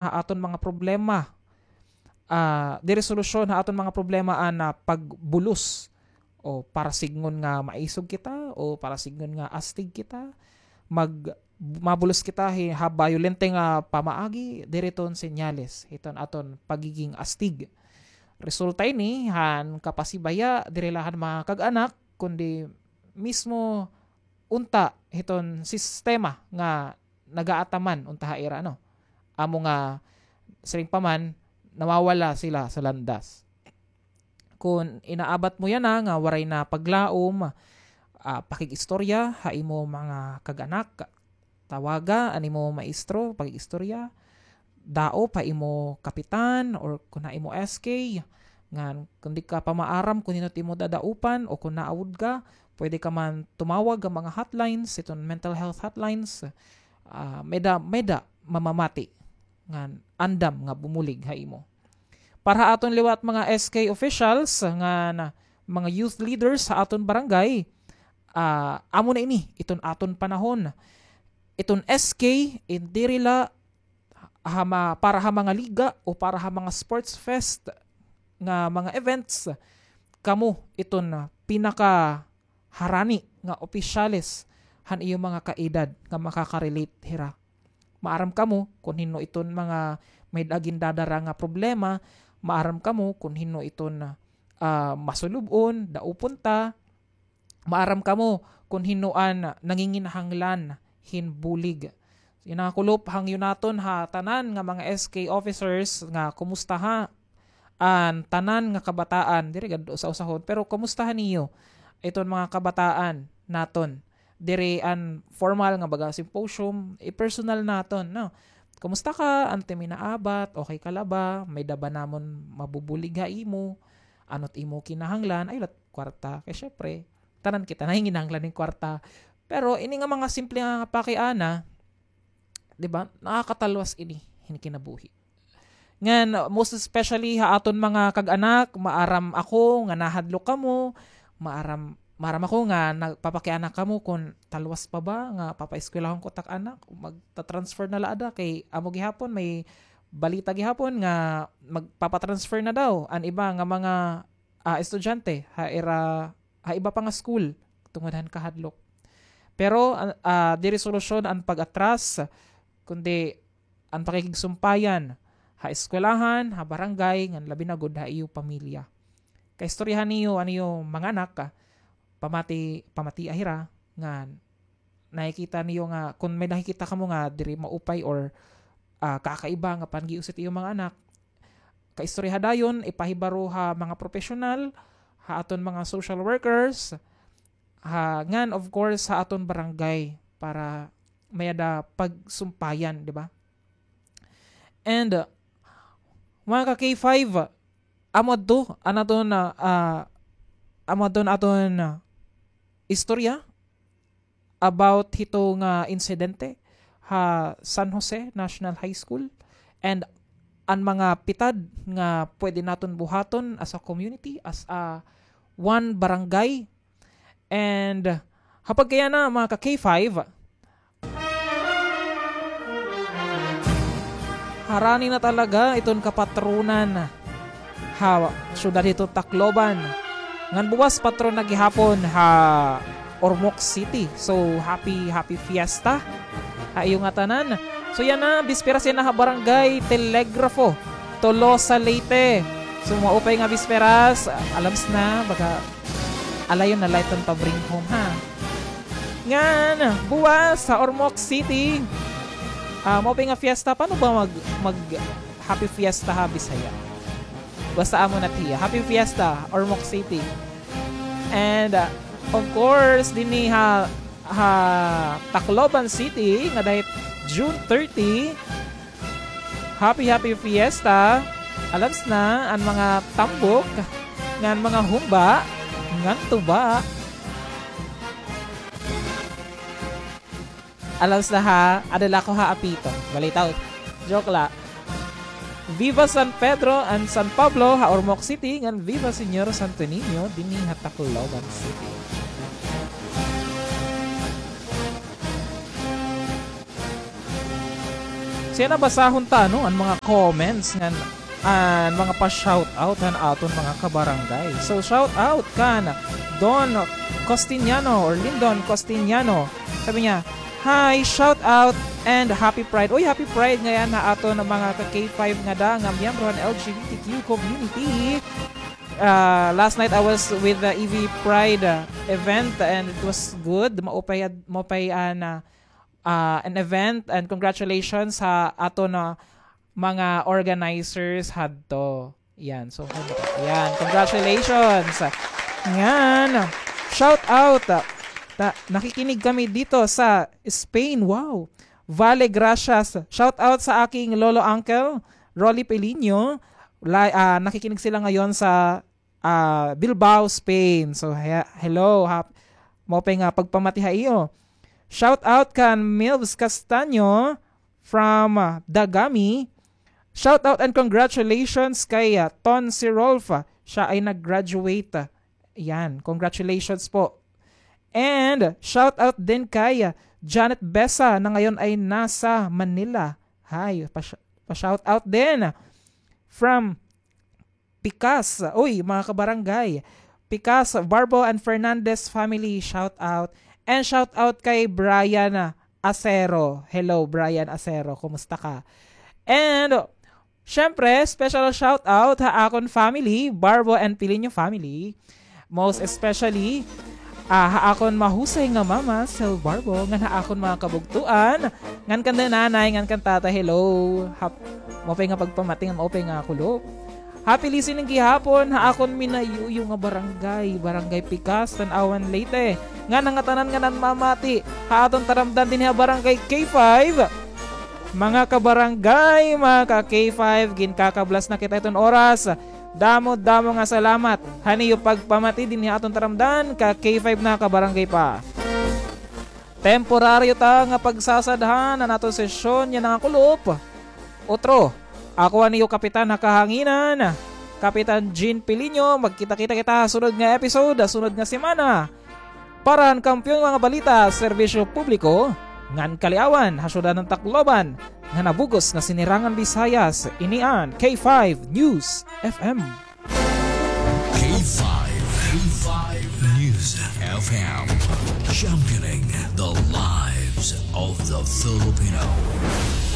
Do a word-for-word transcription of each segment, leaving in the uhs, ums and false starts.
ha aton mga problema. Ah, diri solusyon ha aton mga problema an, ah, pagbulos. O para sidngon nga maisog kita, o para sidngon nga astig kita, mag-, mabulos kita hi-, ha bayolente nga pamaagi, diri iton senyales hiton aton pagiging astig. Resulta ini han kapasibaya, diri la han mga kag-anak, kundi mismo unta hiton sistema nga nagaataman unta ha ira, no? Amo nga, siring pa man, nawawala sila sa landas. Kon inaabat mo yana nga waray na paglaom, ah, pakig-istorya ha imo mga kag-anak, tawaga an imo maestro, pakig-istorya, daop ha imo kapitan or kon ha imo S K, ngan kon di ka pa maaram kon hin-o it imo dadaupan o kon naawod ka, pwede ka man tumawag ha mga hotlines, iton mental health hotlines, ah, may-ada, may-ada mamamati ngan andam nga bumulig ha imo. Para ha aton liwat mga S K officials ngan mga youth leaders ha aton barangay, ah, amo na ini iton aton panahon. Iton S K, diri la ha ma-, para ha mga liga o para ha mga sports fest nga mga events, kamo iton pinakaharani nga opisyales han iyo mga kaedad nga makaka-relate hira. Maaram kamo kon hin-o iton mga may-ada gindadara nga problema, maaram kamo kon hin-o iton, ah, masulub-on, daupon ta, maaram kamo kon hin-o an nanginginahanglan hin bulig. Yana kulop, hangyo naton ha tanan nga mga S K officers nga kumusta ha an tanan nga kabataan, diri gad usa-usahon, pero kumustaha niyo iton mga kabataan naton? Diri an formal nga baga symposium, i-personal naton, no? Kumusta ka, ante, may naabat, okay ka la ba? May-ada ba namon mabubulig ha imo? Ano it imo kinahanglan? Ayaw la it kwarta. Kay syempre, tanan kita nanginginahanglan hin kwarta. Pero ini nga mga simple nga pakiana, di ba, nakakatalwas ini hin kinabuhi. Ngan, most especially ha aton mga kag-anak, maaram ako nga nahadlok kamo, maaram, maaram ako nga nagpapakiana kamo kon talwas pa ba nga papaeskwelahon ko it ak anak, magta-transfer na la ada, kay amo gihapon, may balita gihapon nga magpapa-transfer na daw an iba nga mga, ah, estudyante ha ira, ha iba pa nga school tungod han kahadlok. Pero, ah, ah, diri solusyon an pag-atras, kundi an pakikigsumpayan ha eskwelahan, ha barangay, ngan labi na gud ha iyo pamilya. Kaistoryahan niyo an iyo mga anak, ah, pamati, pamatia hira, ngan nakikita niyo nga, kon may nakikita kamo nga diri maupay or, ah, kakaiba nga panag-iusik it iyo mga anak, kaistoryaha dayon, ipahibaro ha mga professional, ha aton mga social workers, ha, ngan, of course, ha aton barangay para may-ada pagsumpayan, di ba? And, uh, mga ka-K five, amo adto an aton, ah, ah, amo adto an aton, ah, istorya about hito nga insidente ha San Jose National High School and an mga pitad nga pwede naton buhaton as a community, as a one barangay. And ha pagkayana, mga ka-K five, harani na talaga iton kapatronan ha syudad hito Tacloban. Ngan buwas patron na gihapon ha Ormoc City. So, happy, happy fiesta ha iyo ngatanan. So, yana, bisperas yana ha Barangay Telegrafo, Tolosa, Leyte. So, maupay nga bisperas. Alams na, baga alayon na la iton pa-bring home, ha. Ngan, buwas ha Ormoc City. Ah, maupay nga fiesta. Paano ba mag, mag happy fiesta ha Bisaya? Basta amo na it hiya. Happy fiesta, Ormoc City. And, ah, of course, dinhi ha, ha Tacloban City, ngada hit June thirty, happy, happy fiesta. Alams na an mga tambok ngan mga humba ngan tuba. Alams na ha, ada la ako ha apito. Balitaw. Joke la. Viva San Pedro and San Pablo ha Ormoc City, ngan viva Señor Santo Niño dinhi ha Tacloban City. Kay nabasahon ta, no, an mga comments ngan an mga pa-shoutout han aton mga kabarangay. So, shoutout kan Don Costiniano or Lindon Costiniano. Sabi niya, "Hi, shoutout and happy Pride." Uy, happy Pride ngay-an ha aton mga ka-K five ngada nga miyembro han L G B T Q community. Ah, last night I was with the E V Pride, ah, event and it was good. Maupay, maupay an, ah, ah, an event and congratulations ha aton mga organizers hadto. Yan. So, yan. Congratulations. Ngan, shout out. Ta-, nakikinig kami dito sa Spain. Wow. Vale, gracias. Shout out sa aking lolo, uncle, Rolly Pelinho. La-, ah, nakikinig sila ngayon sa, ah, Bilbao, Spain. So, he-, hello. Hap-, maupay nga pagpamati ha iyo. Shout out kan Milvs Castaño from, ah, Dagami. Shout out and congratulations kay, ah, Ton Sirolf. Siya ay nag-graduate. Yan, congratulations po. And shout out din kay, ah, Janet Besa na ngayon ay nasa Manila. Hi, pa-, pa-shout out din from Pikas. Uy, mga kabarangay. Pikas, Barbo and Fernandez family, shout out. And shout out kay Brian Acero. Hello, Brian Acero. Kumusta ka? And, syempre, special shout out ha akon family, Barbo and Pilinho family. Most especially, ah, ha akon mahusay nga mama, Sel Barbo, ngan ha akon mga kabugtoan, ngan kan nanay, ngan kan tatay, hello. Hap-, maupay nga pagpamati, ngan maupay nga kulop. Happy listening gihapon ha akon minayuyo nga barangay, Barangay Pikas, Tanauan, Leyte. Ngan ha ngatanan nga namamati ha aton taramdan dinhi ha Barangay K five. Mga kabarangay, mga ka-K five, ginkakablas na kita hiton oras. Damo-damo nga salamat han iyo pagpamati dinhi ha aton taramdan, ka-K five na kabarangay pa. Temporaryo ta nga pagsasadhan an aton sesyon yana nga kulop. Otro, ako an iyo kapitan ha kahanginan, Kapitan Jean Pilinho. Magkita-kita kita ha sunod nga episode, ha sunod nga semana. Para han Kampiyon nga mga balita, serbisyo publiko, ngan kaliawan ha syudad han Tacloban, nga nabugos nga Sinirangan Visayas, ini an K five News F M. K five, K five News F M, championing the lives of the Filipino.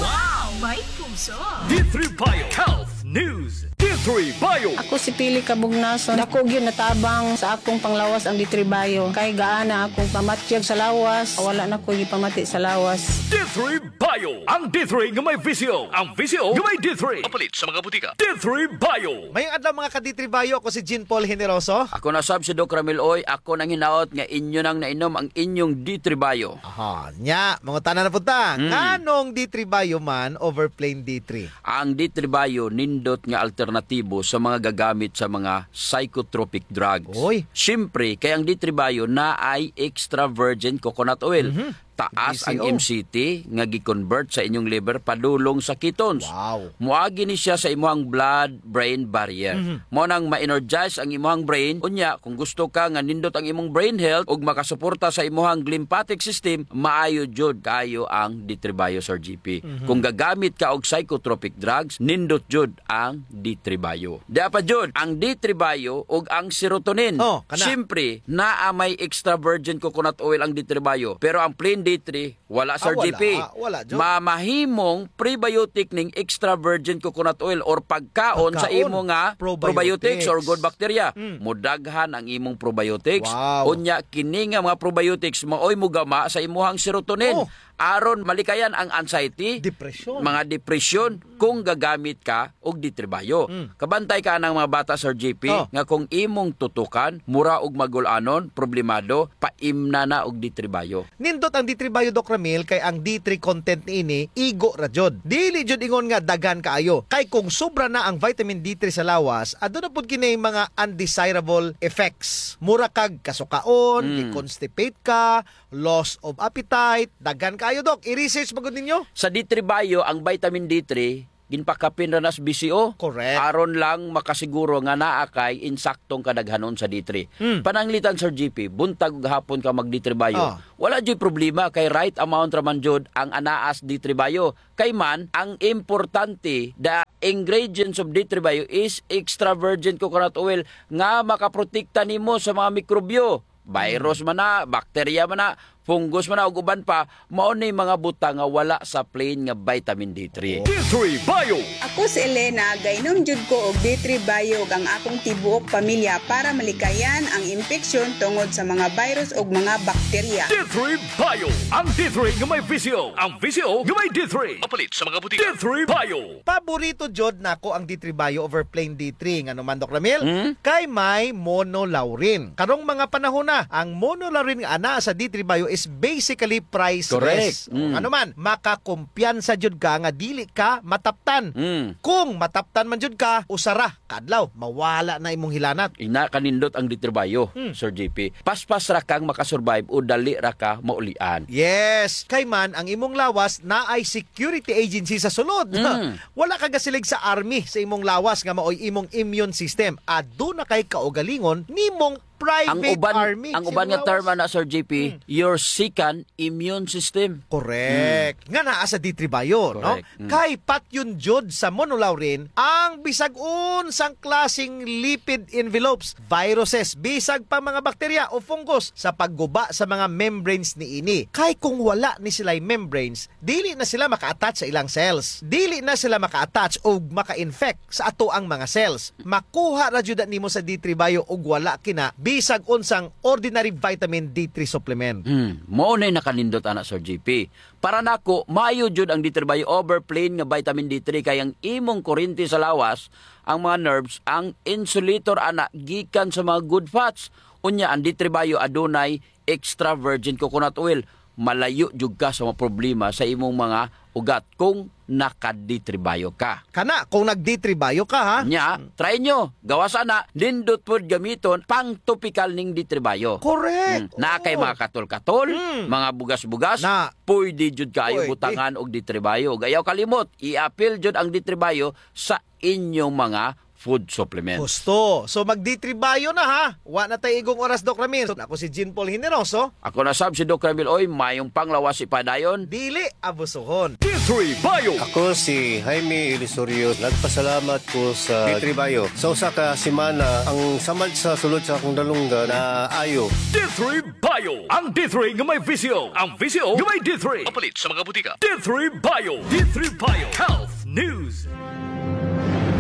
Wow! May puso! D three Bio Health News. D three Bio. Ako si Pili Kabugnason. Dako gyud natabang sa akong panglawas ang D three Bio. Kay gaan na akong pamatyag sa lawas, wala na ko gipamati sa lawas. D three Bio. Ang D three nga may V C O. Ang V C O nga may D three. Mapalit sa mga butika. D three Bio. Mayong adlaw, mga ka-D three Bio. Ako si Jean Paul Generoso. Ako na sab si Doc Ramil Oy. Ako nang hinaot nga inyo nang nainom ang inyong D three Bio. Aha, nya, mangutana na pud ta. Hmm. Nganong D three Bio man over plain D three? Ang D three Bio nindot nga alternatibo sa mga gagamit sa mga psychotropic drugs. Oy. Siyempre, kay ang D three Bio naay extra virgin coconut oil. Mhm. Taas ang M C T nga gi-convert sa inyong liver padulong sa ketones. Wow. Moagi ni siya sa imuhang blood-brain barrier. Mhm. Mao nang ma-energize ang imuhang brain. Unya, kung gusto ka nga nindot ang imong brain health ug makasuporta sa imuhang lymphatic system, maayo jud kaayo ang D three Bio, Sir G P. Mhm. Kung gagamit ka og psychotropic drugs, nindot jud ang D three Bio. Dia pa jud, ang D three Bio ug ang serotonin. Oh, kana. Siyempre, naa may extra virgin coconut oil ang D three Bio, pero ang plain D three, wala, Sir G P. Ah, wala, wala jud. Mamahimong prebiotic ning extra virgin coconut oil or pagkaon sa imo nga probiotics or good bacteria. Pagkaon. Probiotics. Mm. Modaghan ang imong probiotics. Wow. Unya, kini nga mga probiotics maoy mogama sa imuhang serotonin. Oh. Aron malikayan ang anxiety, depresyon, mga depresyon, kung gagamit ka og D three Bio. Mm. Kabantay ka anang mga bata, Sir G P, oh, nga kung imong tutukan, mura og magul-anon, problemado, paimna na og D three Bio. Nindot ang D three Bio, Doc Ramil, kay ang D three content niini, igo ra jud. Dili jud ingon nga daghan kaayo. Kay kung sobra na ang vitamin D three sa lawas, aduna pud kini mga undesirable effects. Mura kag kasukaon, mm, i-constipate ka, loss of appetite, daghan kaayo, Doc. I-research pa gud ninyo? Sa D three Bio, ang vitamin D three, in pakapin ra nas B C O. Correct. Aron lang makasiguro nga naa kay insaktong kadaghanon sa D three. Hmm. Pananglitan, Sir G P, buntag ug hapon ka mag-D three Bio. Ah. Wala juy problema kay right amount ra man jud ang anaa sa D three Bio. Kay man, ang importante, the ingredients of D three Bio is extra virgin coconut oil nga makaprotekta nimo sa mga mikrobyo. Virus man na, bakterya man na, fungus man na, ug uban pa, mao ni mga butang nga wala sa plain nga vitamin D three. D three Bio. Ako si Elena, gainom jud ko og D three Bio ug ang akong tibuok pamilya para malikayan ang impeksyon tungod sa mga virus ug mga bakterya. D three Bio. Ang D three nga may V C O. Ang V C O nga may D three. Mapalit sa mga butika. D three Bio. Paborito jud nako ang D three Bio over plain D three. Ngano man, Doc Ramil? Hmm? Kay may monolaurin. Karong mga panahon na, ang monolaurin nga anaa sa D three Bio is basically priceless. Correct. Mm. Ngano man, makakumpiyansa jud ka nga dili ka mataptan. Mm. Kung mataptan man jud ka, usa ra ka adlaw, mawala na imong hilanat. Ina kanindot ang D three Bio, Hmm. Sir G P. Paspas ra kang makasurvive o dali ra ka maulian. Yes, kay man ang imong lawas naay security agency sa sulod. Mm. Wala ka gasilig sa army sa imong lawas nga maoy imong immune system. Aduna kay kaugalingon nimong private Ang uban, army ang sa uban imong nga term lawas. ana, Sir G P, Mm. your second immune system. Correct. Mm. Nga naa sa D three Bio, no? Correct. Mm. Kay patyon jud sa monolaurin ang bisag unsang klaseng lipid envelopes, viruses, bisag pa mga bakterya o fungus sa pagguba sa mga membranes niini. Kay kung wala ni sila'y membranes, dili na sila maka-attach sa ilang cells. Dili na sila maka-attach o maka-infect sa atoang mga cells. Makuha ra jud na nimo sa D three Bio ug wala kina bisag unsang ordinary vitamin D three supplement. Hmm, mao na'y nakanindot ana, Sir G P. Para nako, maayo jud ang D three Bio over plain nga vitamin D three kay ang imong kurente sa lawas, ang mga nerves, ang insulator ana gikan sa mga good fats. Unya, ang D three Bio adunay extra virgin coconut oil. Malayo jud ka sa mga problema sa imong mga ugat kung naka-D three Bio ka. Kana, kung nag-D three Bio ka, ha? Nya, try nyo. Gawas ana, nindot pod gamiton, pang topikal ning D three Bio. Correct. Mm. Naa kay Oo. mga katol-katol, Mm. mga bugas-bugas, Na. pwede jud kaayo Pwede. butangan og D three Bio. Ug ayaw kalimot, i-apil jud ang D three Bio sa inyong mga food supplements. Husto. So, mag-D three Bio na, ha? Wa na tay igong oras, Doc Ramil. So, ako si Jean Paul Generoso. Ako na sab si Doc Ramil Oy, mayong panglawas ipadayon. Dili abusuhon. D three Bio. Ako si Jaime Ilusorio. Nagpasalamat ko sa D three Bio. Sa usa ka semana, ang samad sa sulod sa akong dalunggan naayo. D three Bio. Ang D three nga may V C O. Ang V C O nga may D three. Mapalit sa mga butika. D three Bio. D three Bio. Health News.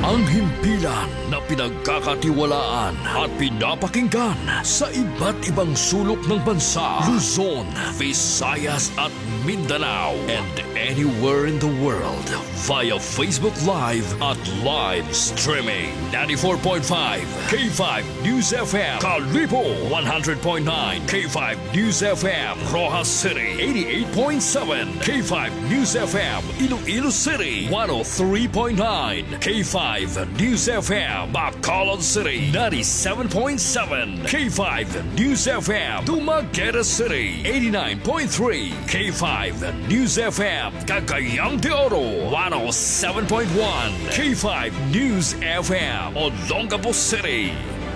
Ang himpilan na pinagkakatiwalaan at pinapakinggan sa iba't ibang sulok ng bansa, Luzon, Visayas at Mindanao, and anywhere in the world via Facebook Live at live streaming. Ninety-four point five K five News F M, Kalibo, one hundred point nine K five News F M, Roxas City, eighty-eight point seven K five News F M, Iloilo City, one oh three point nine K five News F M, Bacolod City, ninety-seven point seven K five News F M, Dumaguete City, eighty-nine point three K five News F M, Cagayan de Oro, one oh seven point one K five News F M, Olongapo City.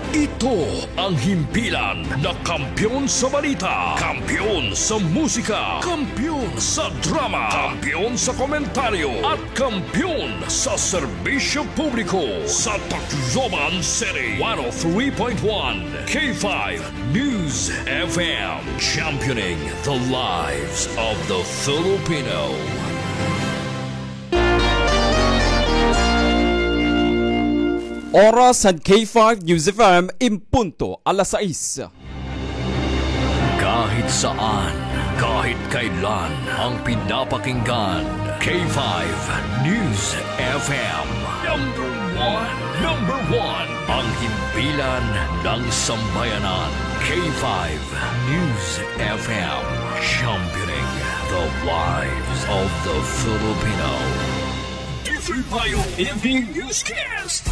Ito ang himpilan na kampiyon sa balita, kampiyon sa musika, kampiyon sa drama, kampiyon sa komentaryo, at kampiyon sa serbisyo publiko sa Tacloban City. One oh three point one K five News F M, championing the lives of the Filipino. Oras han K five News F M in punto alas sais. Kahit saan, kahit kailan, ang pinapakinggan, K five News F M. Number one, number one, ang himpilan ng sambayanan, K five News F M, championing the lives of the Filipino. D three Bio Evening Newscast.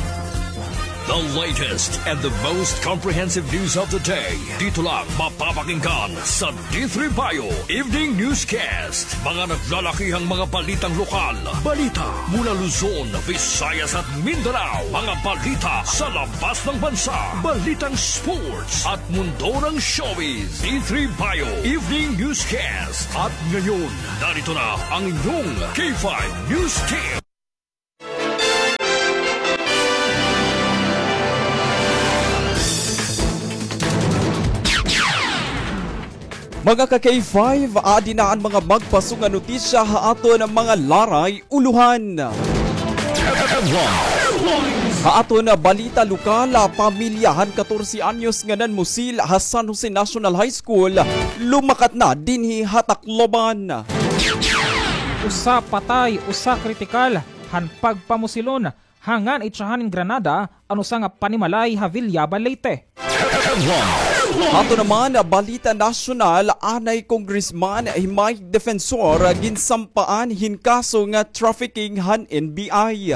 The latest and the most comprehensive news of the day. Dito lang mapapakinggan sa D three Bio Evening Newscast. Mga naglalakihang mga balitang lokal. Balita mula Luzon, Visayas at Mindanao. Mga balita sa labas ng bansa. Balitang sports at mundo ng showbiz. D three Bio Evening Newscast. At ngayon, narito na ang inyong K five News Team. Mga ka-K five, adi na an mga magpaso nga notisya ha aton mga laray ulohan. Ha aton balita lokal, pamilya han katorse anyos nga nanmusil ha San Jose National High School, lumakat na dinhi ha Tacloban. Usa patay, usa kritikal han pagpamusilon ha ngan itsahan hin granada an usa nga panimalay ha Villaba, Leyte. Ato naman, balita nasyonal, anay Congressman himay defensor ginsampaan hin kaso nga trafficking han N B I.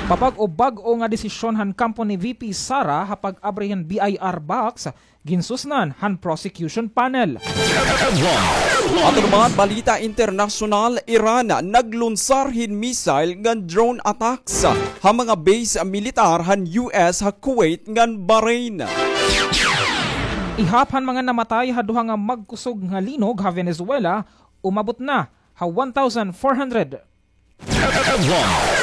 Pabag-o-bag-o nga desisyon han kampo ni V P Sara ha pag-abri hin B I R box, ginsusnan han prosecution panel. Ato naman, balita internasyonal, Iran naglunsar hin missile ngan drone attacks ha mga base militar han U S ha Kuwait ngan Bahrain. Ihap han mga namatay ha duha nga magkusog nga linog ha Venezuela, umabot na ha one thousand four hundred.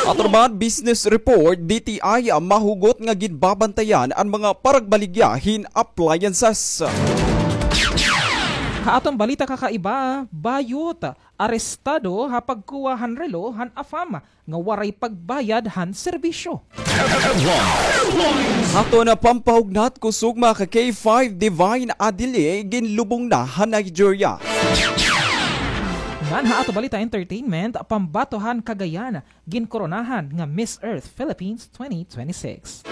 Ato naman, business report, D T I, mahugot nga ginbabantayan an mga paragbaligya hin appliances. Ha aton balita kakaiba, bayot, arestado ha pagkuha han relo han AFAM nga waray pagbayad han serbisyo. Aton pampahugnat, kusog mga ka-K five, Divine Adili ginlubong na ha Nigeria. Ngan ha ato balita entertainment, pambato han Cagayan ginkoronahan nga Miss Earth Philippines twenty twenty-six.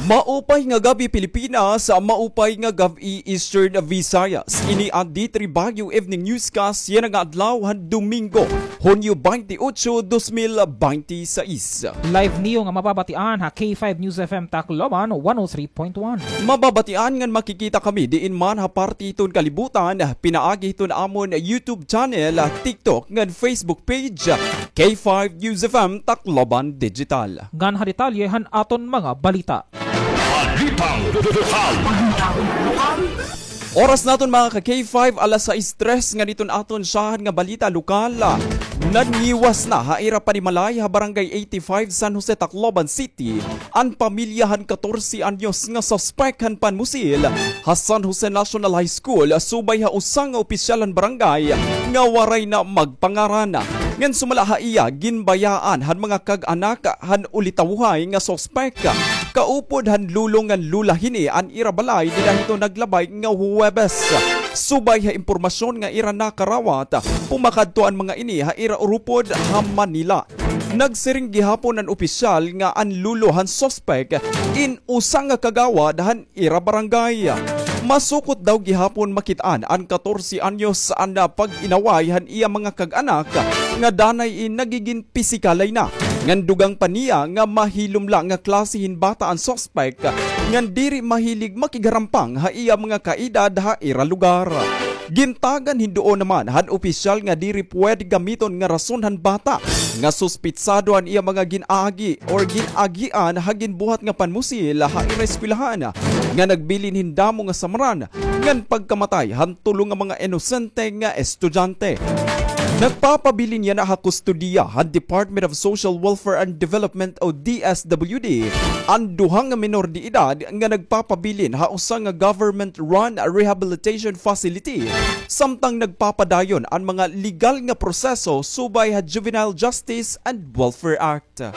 Maupay nga gab-i, Pilipinas. Maupay nga gab-i, Eastern Visayas. Ini an D three Baguio Evening Newscast yana nga adlaw han Domingo, Hunyo twenty-eight, dos mil binte y seis. Live niyo nga mababatian ha K five News F M Tacloban one oh three point one. Mababatian ngan makikita kami diin man ha parte hiton kalibutan, pinaagi hiton amon YouTube channel, TikTok ngan Facebook page, K five News F M Tacloban Digital. Ngan ha detalye han aton mga balita. Balitang lokal. Oras naton, mga ka-K five, alas sais tres. Ngan iton aton syahan nga balita lokal. Nanghiwas na ha ira panimalay ha Barangay eighty-five, San Jose, Tacloban City, an pamilya han katorse anyos nga suspek han panmusil ha San Jose National High School, subay ha usa nga opisyal han barangay nga waray na magpangaran. Ngan sumala ha iya, ginbayaan han mga kag-anak han ulitawhay nga suspek, kaupod han lolo ngan lola hini, an ira balay dida hiton naglabay nga Huwebes. Subay ha impormasyon nga ira nakarawat, pumakadto an mga ini ha ira urupod ha Manila. Nagsiring gihapon an opisyal nga an lolo han suspek in usa nga kagawad han ira barangay. Masukot daw gihapon makit-an an katorse anyos an pag-inaway han iya mga kag-anak nga danay in nagigin pisikalay na. Ngan dugang pa niya nga mahilom la nga klase hin bata an suspek, ngan diri mahilig makigharampang ha iya mga kaedad ha ira lugar. Gintagan hin duon naman han opisyal nga diri pwede gamiton nga rason han bata nga suspitsado an iya mga gin-agi or gin-agian ha ginbuhat nga panmusil ha ira eskwelahan, nga nagbilin hin damo nga samran ngan pagkamatay han tulo nga mga inosente nga estudyante. Nagpapabilin yana ha kustodiya han Department of Social Welfare and Development o D S W D an duha nga minor de edad nga nagpapabilin ha usa nga government-run rehabilitation facility, samtang nagpapadayon an mga legal nga proseso subay ha Juvenile Justice and Welfare Act.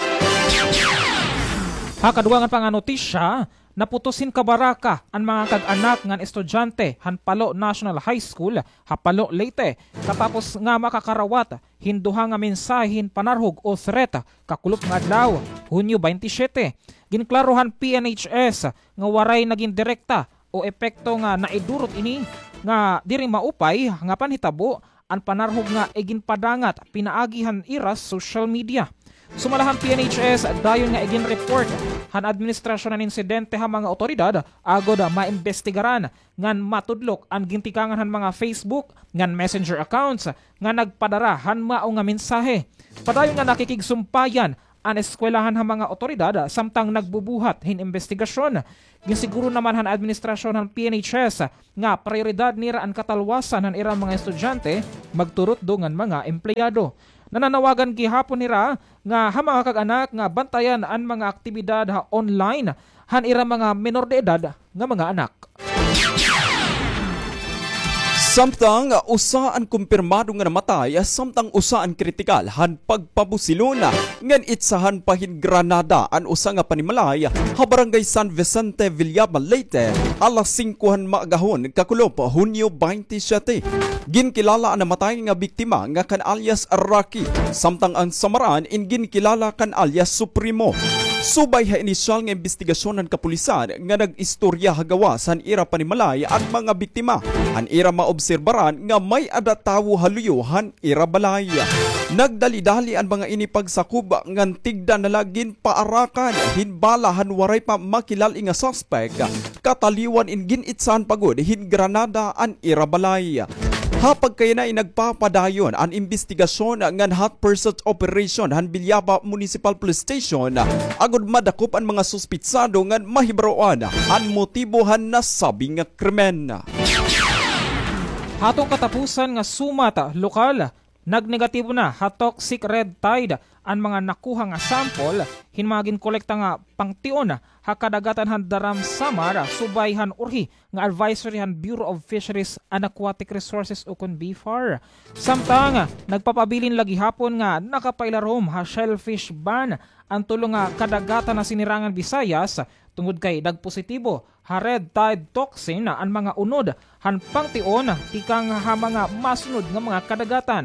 Ha kadugangan pa nga notisya, naputos hin kabaraka an mga kag-anak ngan estudyante han Palo National High School ha Palo, Leyte, katapos nga makakarawat hin duha nga mensahe hin panarhog o threat kakulop nga adlaw, Hunyo twenty-seven. Ginklaro han P N H S nga waray nagin direkta o epekto nga naidurot ini nga diri maupay nga panhitabo an panarhog nga iginpadangat pinaagi han ira social media. Sumala han P N H S, dayon nga iginreport han administrasyon an insidente ha mga awtoridad agod maimbestigaran ngan matudlok an gintikangan han mga Facebook ngan Messenger accounts nga nagpadara han mao nga mensahe. Padayon nga nakikigsumpayan an eskwelahan ha mga awtoridad samtang nagbubuhat hin imbestigasyon. Ginsiguro naman han administrasyon han P N H S nga prayoridad nira an katalwasan han ira mga estudyante, magturutdo ngan mga empleyado. Nananawagan gihapon hira nga ha mga kag-anak nga bantayan an mga aktibidad ha online han ira mga menor de edad nga mga anak. Samtang usa an kumpirmado nga namatay, samtang usa an kritikal han pagpabusilon ngan itsahan pa hin granada an usa nga panimalay ha Barangay San Vicente, Villaba, Leyte, alas singko han maagahon kakulop, Hunyo twenty-seven. Ginkilala an namatay nga biktima nga kan alias Rocky, samtang an samaran in ginkilala kan alias Supremo. Subay ha inisyal nga imbestigasyon han kapulisan nga nag-istorya ha gawas han ira panimalay an mga biktima, an ira maobserbaran nga may-ada tawo ha luyo han ira balay. Nagdali-dali an mga ini pagsakob ngan tigda na la ginpaarakan hin bala han waray pa makilal-i nga suspek, kataliwan in gin-itsahan pa gud hin granada an ira balay. Ha pagkayanay, nagpapadayon an imbestigasyon ngan hot pursuit operation han Villaba Municipal Police Station agod madakop an mga suspitsado ngan mahibaroan an motibo han nasabi nga krimen. Hatong katapusan nga sumat lokal, nagnegatibo na ha toxic red tide an mga nakuha nga sample hin mga ginkolekta nga pangtion ha kadagatan han Daram, Samar, subay han urhi nga advisory han Bureau of Fisheries and Aquatic Resources ukon BFAR. Samtang nagpapabilin la gihapon nga nakapailarom ha shellfish ban an tulo nga kadagatan ha Sinirangan Visayas tungod kay nagpositibo ha red tide toxin an mga unod han pangtion tikang ha mga masunod nga mga kadagatan.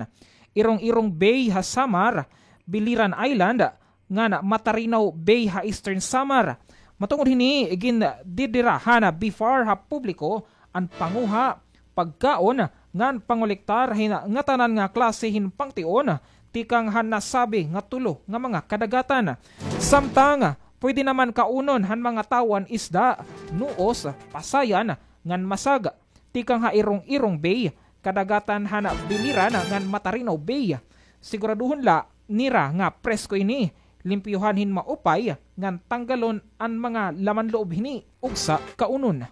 Irong-Irong Bay ha Samar, Biliran Island, ngan Matarinaw Bay ha Eastern Samar. Matungod hini, gindidira han BFAR ha publiko an panguha, pagkaon, ngan pangolektar hin ngatanan nga klase hin pangtion tikang han nasabi nga tulo nga mga kadagatan. Samtang pwede naman kaunon han mga tawo an isda, nuos, pasayan, ngan masag tikang ha Irong-Irong Bay, kadagatan han Biliran ngan Matarinaw Bay. Siguraduhon la nira nga presko ini, limpyuhan hin maupay, ngan tanggalon an mga laman loob hini ugsa kaunon.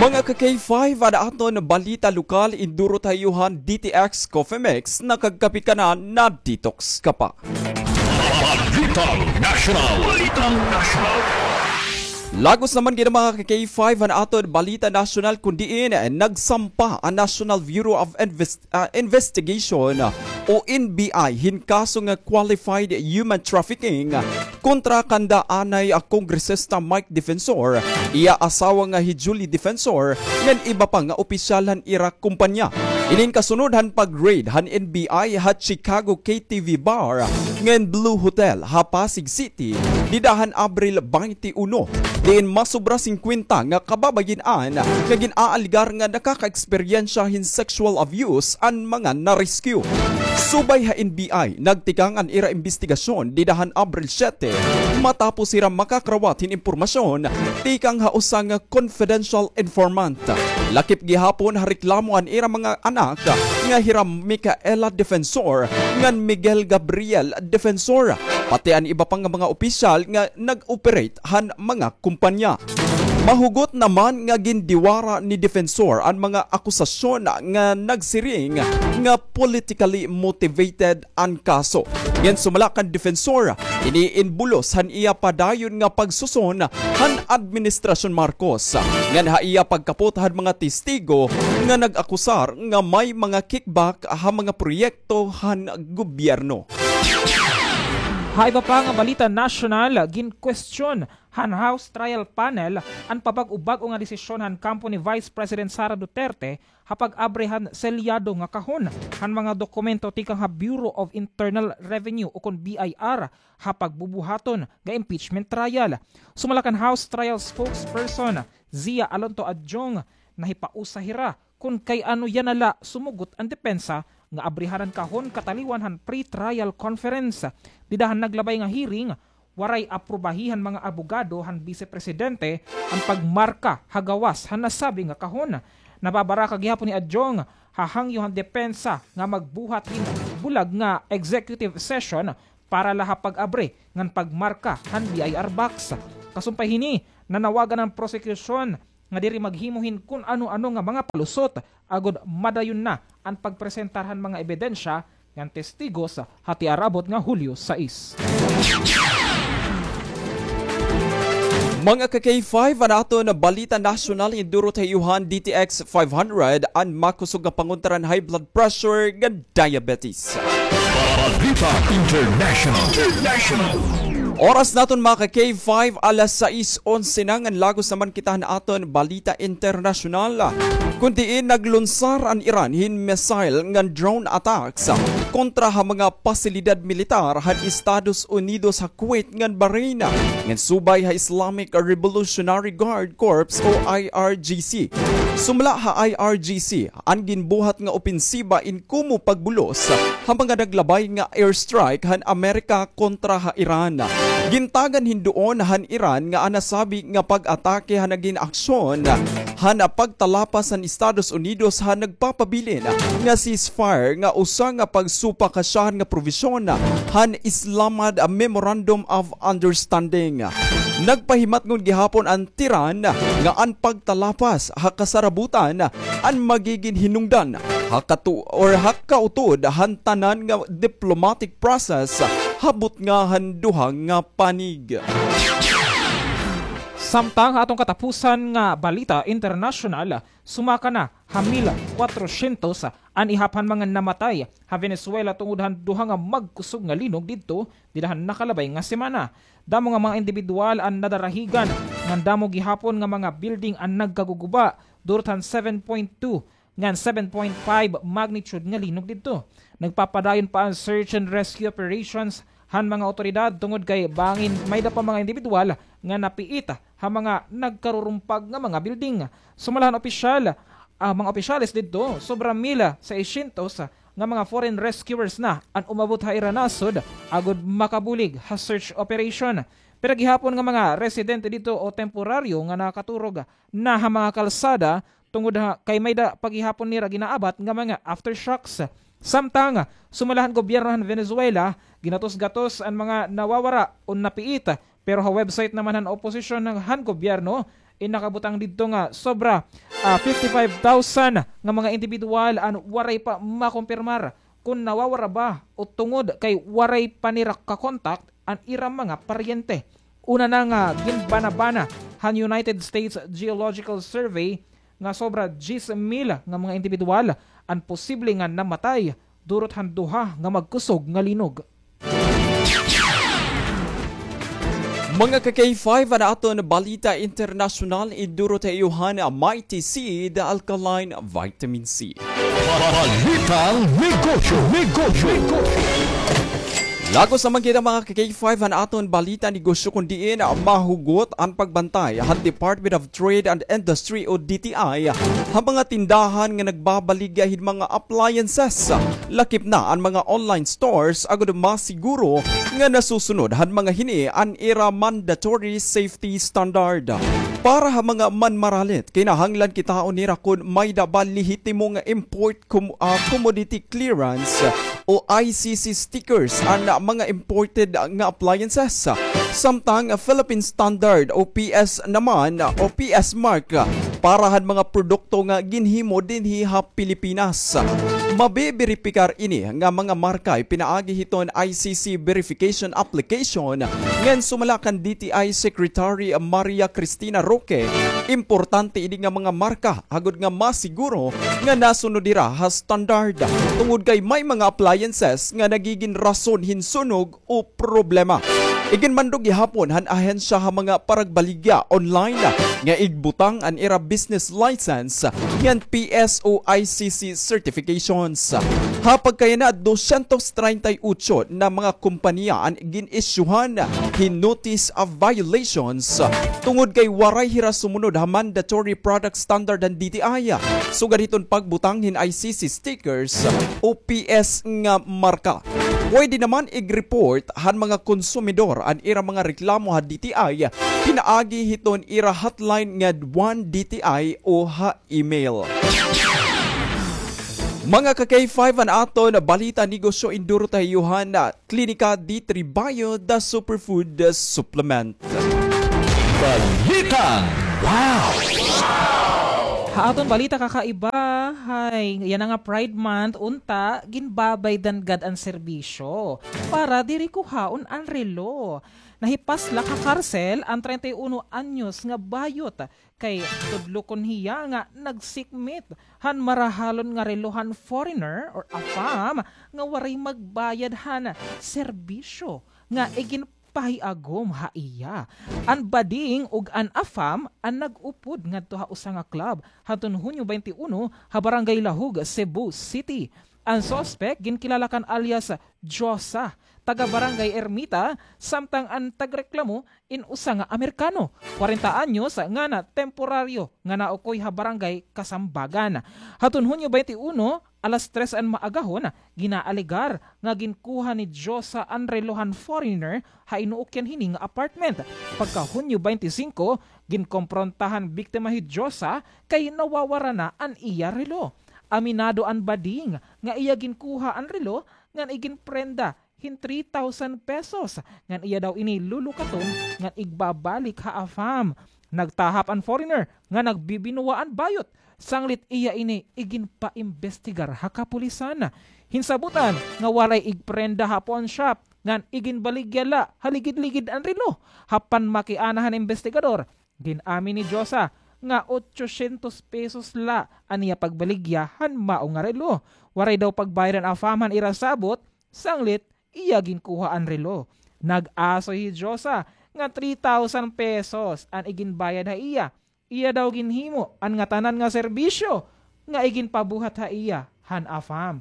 Mga ka-K five, an aton balita lokal, indurot ha iyo han D T X Coffee Mix, nakagkape ka na, na-detox ka pa. Balitang National. Balitang National. Lagos naman gid, mga ka-K five, an aton balita nasyonal, kun diin nagsampa an National Bureau of Invest-, ah, Investigation o N B I hin kaso nga qualified human trafficking kontra kanda anay, ah, Kongresista Mike Defensor, iya asawa nga hi Julie Defensor, ngan iba pa nga opisyal han ira kompanya. Ini in kasunod han pag-raid han N B I ha Chicago K T V Bar ngan Blue Hotel ha Pasig City dida han Abril twenty-one, diin masobra singkwenta nga kababayin-an nga gin-aalegar nga nakakaeksperyensya hin sexual abuse an mga na-rescue. Subay ha N B I, nagtikang an ira imbestigasyon dida han Abril siyete, matapos hira makakarawat hin impormasyon tikang ha usa nga confidential informant. Lakip gihapon ha reklamo an ira mga anak nga hira Micaela Defensor ngan Miguel Gabriel Defensor, pati an iba pa nga mga opisyal nga nag-operate han mga kompanya. Mahugot naman nga gindiwara ni Defensor an mga akusasyon nga nagsiring nga politically motivated an kaso. Ngan sumala kan Defensor, ini in bulos han iya padayon nga pagsuson han Administrasyon Marcos. Ngan ha iya pagkapot han mga testigo nga nag-akusar nga may mga kickback ha mga proyekto han gobyerno. Ha iba pa nga balita nasyonal, ginkwestiyon han House Trial Panel an pabag-o-bag-o nga desisyon han kampo ni Vice President Sara Duterte ha pag-abri han selyado nga kahon han mga dokumento tikang ha Bureau of Internal Revenue ukon B I R ha pagbubuhaton nga impeachment trial. Sumala kan House Trial Spokesperson Zia Alonto Adjong, nahipausa hira kon kay ano yana la sumugot an depensa nga abrihan an kahon kataliwan han pre-trial conference. Dida han naglabay nga hearing, waray aprubahi han mga abogado han Bise Presidente an pagmarka ha gawas han nasabi nga kahon. Nababaraka gihapon ni Adjong ha hangyo han depensa nga magbuhat hin bulag nga executive session para la ha pag-abri ngan pagmarka han B I R box. Kasumpay hini, nanawagan an prosekusyon nga diri maghimo hin kun ano-ano nga mga palusot agod madayon na an pagpresentar han mga ebidensya ngan testigos ha tiarabot nga Hulyo sais. Mga ka-K five, an aton balita nasyonal, indurot ha iyo han D T X five hundred, an makusog nga pangontra han high blood pressure ngan diabetes. Balita International. International. Oras naton, mga ka-K five, alas sais onse na, ngan lagos naman kita han aton balita internasyonal. Kun diin naglunsar an Iran hin missile ngan drone attacks kontra ha mga pasilidad militar han Estados Unidos ha Kuwait ngan Bahrain, ngan subay ha Islamic Revolutionary Guard Corps o I R G C. Sumala ha I R G C, an ginbuhat nga opensiba in kumo pagbulos ha mga naglabay nga airstrike han Amerika kontra ha Iran. Gintagan hin duon han Iran nga an nasabi nga pag-atake han nagin aksyon han pagtalapas han Estados Unidos han nagpapabilin nga ceasefire nga usa nga pagsupakasyahan nga probisyon han Islamabad Memorandum of Understanding. Nagpahimatngon gihapon an Tehran nga an pagtalapas ha kasarabutan an magigin hinungdan ha katu-, or ha kautod han tanan nga diplomatic process ha butnga han duha nga panig. Samtang ha aton katapusan nga balita internasyonal, sumaka na ha mil kwatrosyentos an ihap han mga namatay ha Venezuela tungod han duha nga magkusog nga linog didto dida han nakalabay nga semana. Damo nga mga indibidwal an nadarahigan, ngan damo gihapon nga mga building an nagkaguguba, durot han seven point two ngan seven point five magnitude nga linog didto. Nagpapadayon pa an search and rescue operations han mga awtoridad tungod kay bangin mayda pa mga indibidwal nga napiit ha mga nagkarurumpag nga mga building. Sumala han opisyal, ah, mga opisyales didto, sobra mil seiscientos nga mga foreign rescuers na an umabot ha ira nasod agod makabulig ha search operation. Pira gihapon nga mga residente didto o temporaryo nga nakaturog na ha mga kalsada tungod ha kay mayda pa gihapon nira ginaabat nga mga aftershocks. Samtang, sumala han gobyerno han Venezuela, ginatos-gatos an mga nawawara o napiit, pero ha website naman han oposisyon han, han gobyerno, in nakabutang didto nga sobra, ah, fifty-five thousand nga mga indibidwal an waray pa makumpirmar kon nawawara ba o tungod kay waray pa nira ka-contact an ira mga paryente. Una na nga ginbanabana han United States Geological Survey nga sobra diyes mil nga mga indibidwal an posible nga namatay durot han duha nga magkusog nga linog. Mga ka-K five, an aton balita internasyonal, idurot ha iyo han Mighty Seed Alkaline Vitamin C. Balitang negosyo, negosyo, negosyo. Lagos naman kita, mga ka-K five, han aton balita negosyo, kun diin mahugot an pagbantay han Department of Trade and Industry o D T I ha mga tindahan nga nagbabaligya hin mga appliances. Lakip na an mga online stores agod masiguro nga nasusunod han mga hini an ira mandatory safety standard. Para ha mga manmaralit, kinahanglan kitaon nira kon mayda ba lehitimo nga import com-, ah, commodity clearance o I C C stickers an mga imported nga appliances. Samtang Philippine Standard o P S naman o P S mark para han mga produkto nga ginhimo dinhi ha Pilipinas. Mabeberipikar ini nga mga marka pinaagi hiton I C C verification application ngan sumala kan D T I Secretary Maria Cristina Roque, importante ini nga mga marka agod nga masiguro nga nasunod hira ha standard, tungod kay may mga appliances nga nagigin rason hin sunog o problema. Iginmando gihapon han ahensya ha mga paragbaligya online nga igbutang an ira business license ngan P S O I C C certifications. Ha pagkayana, dosyentos treinta y ocho na mga kompanya an gin-isyuhan hin notice of violations tungod kay waray hira sumunod ha mandatory product standard han D T I, sugad hiton pagbutang hin I C C stickers o P S nga marka. Pwede naman ig-report han mga konsumidor an ira mga reklamo ha D T I pinaagi hiton ira hotline nga one D T I o ha email. Mga ka-K five, an aton balita negosyo, induro ta ha iyo han Klinika D three Bio, the superfood supplement. Balitang Wow! Ha aton balita kakaiba, hay, yana nga Pride Month, unta, ginbabaydan gad an serbisyo para diri kuhaon an relo. Nahipaslak ha karsel an treinta y uno anyos nga bayot kay tudlokon hiya nga nagsikmit han marahalon nga relo han foreigner or afam nga waray magbayad han serbisyo nga iginpahiagom ha iya. An bading ug an afam an nag-upod ngadto ha usa nga club hadton Hunyo twenty-one ha Barangay Lahug, Cebu City. An suspek ginkilala kan alias Josa, taga Barangay Ermita, samtang an tagreklamo in usa nga Amerikano, kwarenta anyos, nga na temporaryo nga naukoy ha Barangay Kasambagan. Hadton Hunyo twenty-one, alas tres an maagahon, ginaalegar nga ginkuha ni Josa an relo han foreigner ha inuukyan hini nga apartment. Pagka Hunyo twenty-five, ginkompronta han biktima hi Josa kay nawawara na an iya relo. Aminado an bading nga iya ginkuha an relo ngan iginprenda hin three thousand pesos, ngan iya daw ini lulukaton ngan igbabalik ha afam. Nagtahap an foreigner nga nagbibinuwa an bayot, sanglit iya ini iginpaimbestigar ha kapulisan. Hinsabutan nga waray igprenda ha pawnshop, ngan iginbaligya la ha ligid-ligid an relo. Ha panmakiana han imbestigador, gin-amin ni Josa nga otsosyentos pesos la an iya pagbaligya han mao nga relo. Waray daw pagbayad an afam han ira sabot, sanglit iya ginkuha an relo. Nag-asoy hi Josa nga three thousand pesos an iginbayad ha iya. Iya daw ginhimo an ngatanan nga serbisyo nga iginpabuhat ha iya han afam.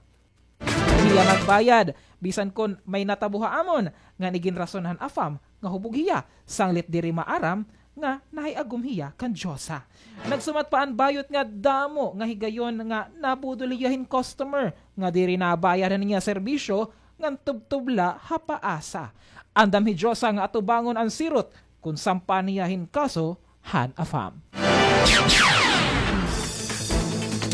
Diri hiya magbayad, bisan kon may natabo ha amon, ngan iginrason han afam nga hubog hiya, sanglit diri maaram nga nahiagom hiya kan Josa. Nagsumat pa an bayot nga damo nga higayon nga nabudol hiya hin customer nga diri nabayad han iya serbisyo ngan tubtob la ha paasa. Andam hi Josa nga atubangon an sirot kon sampan hiya hin kaso han afam.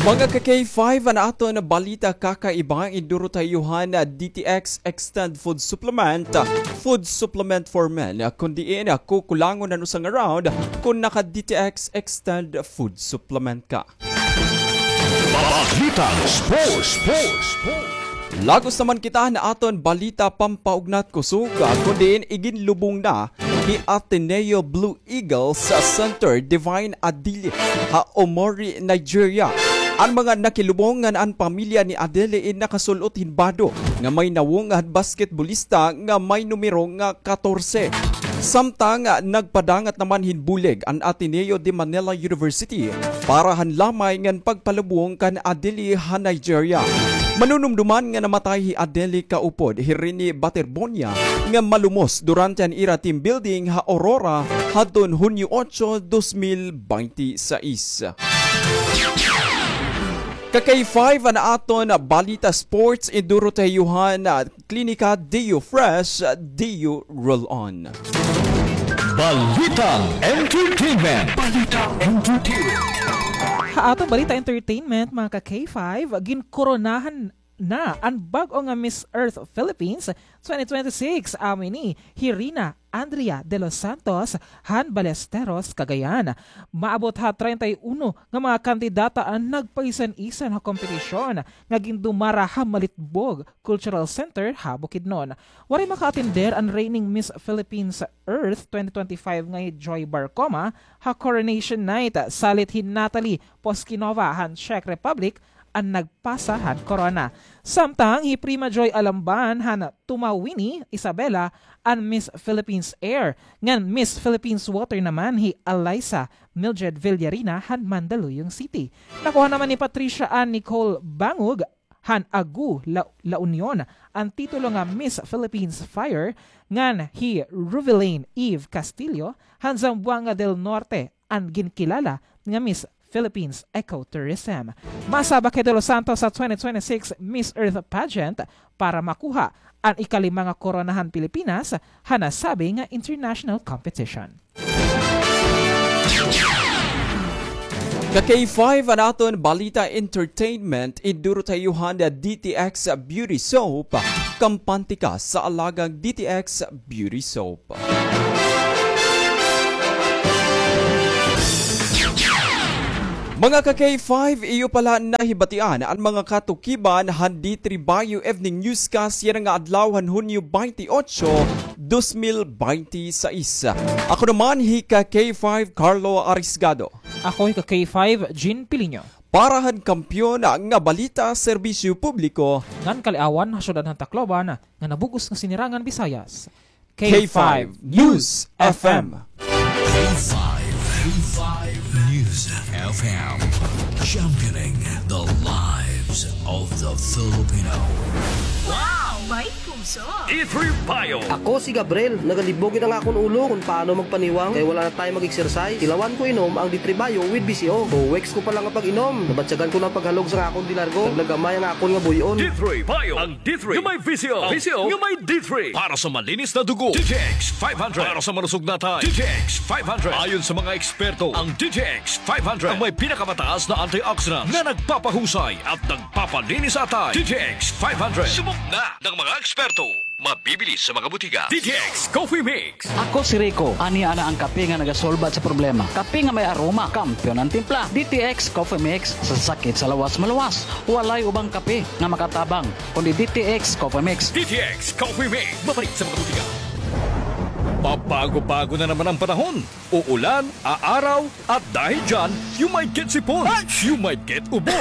Mga ka-K five, an aton balita kakaiba, induro ta ha iyo han D T X Extend Food Supplement, food supplement for men, kon diin kukulangon an usa nga round kon naka-D T X Extend Food Supplement ka. Balitang Sports, Sports, Sports. Lagos naman kita han aton balita pampaugnat kusog, kon diin iginlubong na ni Ateneo Blue Eagles sa center Divine Adili ha Omori, Nigeria. An mga nakilubong ngan an pamilya ni Adili in nakasul-ot hin bado nga may nawong han basketbolista nga may numero nga katorse. Samtang nagpadangat naman hin bulig an Ateneo de Manila University para han lamay ngan pagpalubong kan Adili ha Nigeria. Manunumduman nga namatay hi Adili kaupod hi Rene Baterbonia nga malumos durante an ira team building ha Aurora hadton Hunyo otso, dos mil bente sais. Ka-K five, an aton balita sports, induro ta ha iyo han Klinika D U Fresh, D U Roll On. Balitang Entertainment. Balitang Entertainment. Ha aton balita entertainment, mga ka-K five, ginkoronahan na an bag-o nga Miss Earth Philippines twenty twenty-six, amo ini hi Rina Andrea de los Santos han Ballesteros, Cagayan. Maabot ha treinta y uno nga mga kandidata an nagpaisan-isan ha kompetisyon nga gindumara ha Malitbog Cultural Center ha Bukidnon. Waray makaatender an reigning Miss Philippines Earth twenty twenty-five nga hi Joy Barcoma ha Coronation Night, salit hi Natalie Poskinova han Czech Republic an nagpasa han corona. Samtang hi Prima Joy Alamban han Tumawini, Isabela, an Miss Philippines Air, ngan Miss Philippines Water naman hi Alyssa Mildred Villarina han Mandaluyong City. Nakuha naman ni Patricia Ann Nicole Bangug han Agu, La, La Union, an titulo nga Miss Philippines Fire, ngan hi Ruvilane Eve Castillo han Zamboanga del Norte an ginkilala nga Miss Philippines Ecotourism. Masabak hi De Los Santos sa twenty twenty-six Miss Earth Pageant para makuha an ikalima nga korona han Pilipinas han nasabi nga international competition. Ka K five, an aton balita entertainment, idurot ha iyo han D T X Beauty Soap, kampante ka sa alagang D T X Beauty Soap. Mga ka K five, iyo pala nahibatian an mga katukiban han D three Bayo Evening Newscast yana nga adlaw han Hunyo twenty-eight, dos mil twenty-six. Ako naman hi ka K five Carlo Arisgado. Ako hi ka K five Jean Piliño. Para han Kampiyon nga Balita, Serbisyo Publiko ngan Kaliawan ha Syudad han Tacloban nga nabug-os nga Sinirangan Visayas. K five News F M. K five, K five News F M. Championing the lives of the Filipino. Wow! May puso! D three Bio. Ako si Gabriel. Nagalibog gid ang akon ulo kon paano magpaniwang kay wala na tayo mag-exercise. Tilawan ko inom ang D three Bio with V C O. Two weeks ko pa lang nga pag-inom, nabatyagan ko na ang paghalog sa akon de largo. Naglagamay ang akon nga buy-on. D three Bio. Ang D three nga may V C O. V C O nga may D three. Para sa malinis na dugo, D T X five hundred. Para sa malusog na atay, D T X five hundred. Ayon sa mga eksperto, ang D T X five hundred ang may pinakamataas na antioxidants na nagpapahusay at nagpapalinis sa atay. D T X five hundred. Subok na ng mga eksperto. Mabibili sa mga butika. D T X Coffee Mix. Ako si Rico. Ania na ang kape nga nagasolbat sa problema. Kape nga may aroma, kampiyon an timpla. D T X Coffee Mix, sa sakit sa lawas maluwas. Walay ubang kape nga makatabang kundi D T X Coffee Mix. D T X Coffee Mix. Mabalik sa mga butika. Pabago-bago na naman ang panahon. Uulan, aaraw, at dahil dyan, you might get sipon, you might get ubo,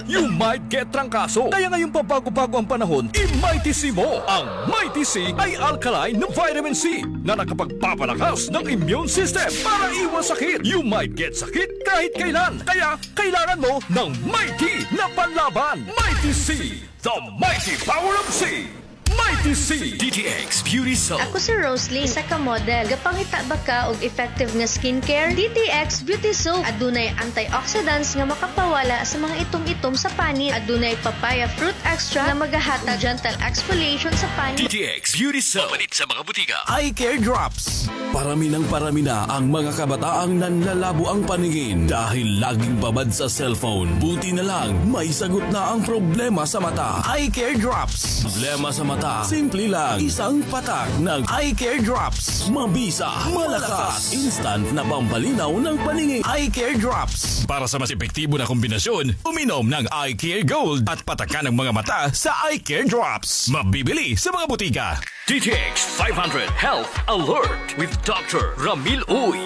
you might get trangkaso. Kaya ngayong pabago-bago ang panahon, i-Mighty C mo. Ang Mighty C ay alkaline na vitamin C na nakapagpapalakas ng immune system para iwas sakit. You might get sakit kahit kailan. Kaya kailangan mo ng Mighty na panlaban. Mighty C, the mighty power of C. Mighty C. D T X Beauty Soap. Ako si Roslyn, isa ka model. Gapangita ba ka og effective nga skincare? D T X Beauty Soap. Adunay antioxidants nga makapawala sa mga itom-itom sa panit. Adunay papaya fruit extract nga magahatag gentle exfoliation sa panit. D T X Beauty Soap. Mapalit sa mga butika. Eye Care Drops. Parami ng parami na ang mga kabataang nanlalabo ang paningin dahil laging babad sa cellphone. Buti na lang, may sagot na ang problema sa mata. Eye Care Drops. Problema sa mata, simple lang. Isang patak ng Eye Care Drops. Mabisa, malakas, instant na pampalinaw ng paningin. Eye Care Drops. Para sa mas epektibo na kombinasyon, uminom ng Eye Care Gold at patakan ang mga mata sa Eye Care Drops. Mabibili sa mga butika. D T X five hundred Health Alert with Doctor Ramil Uy.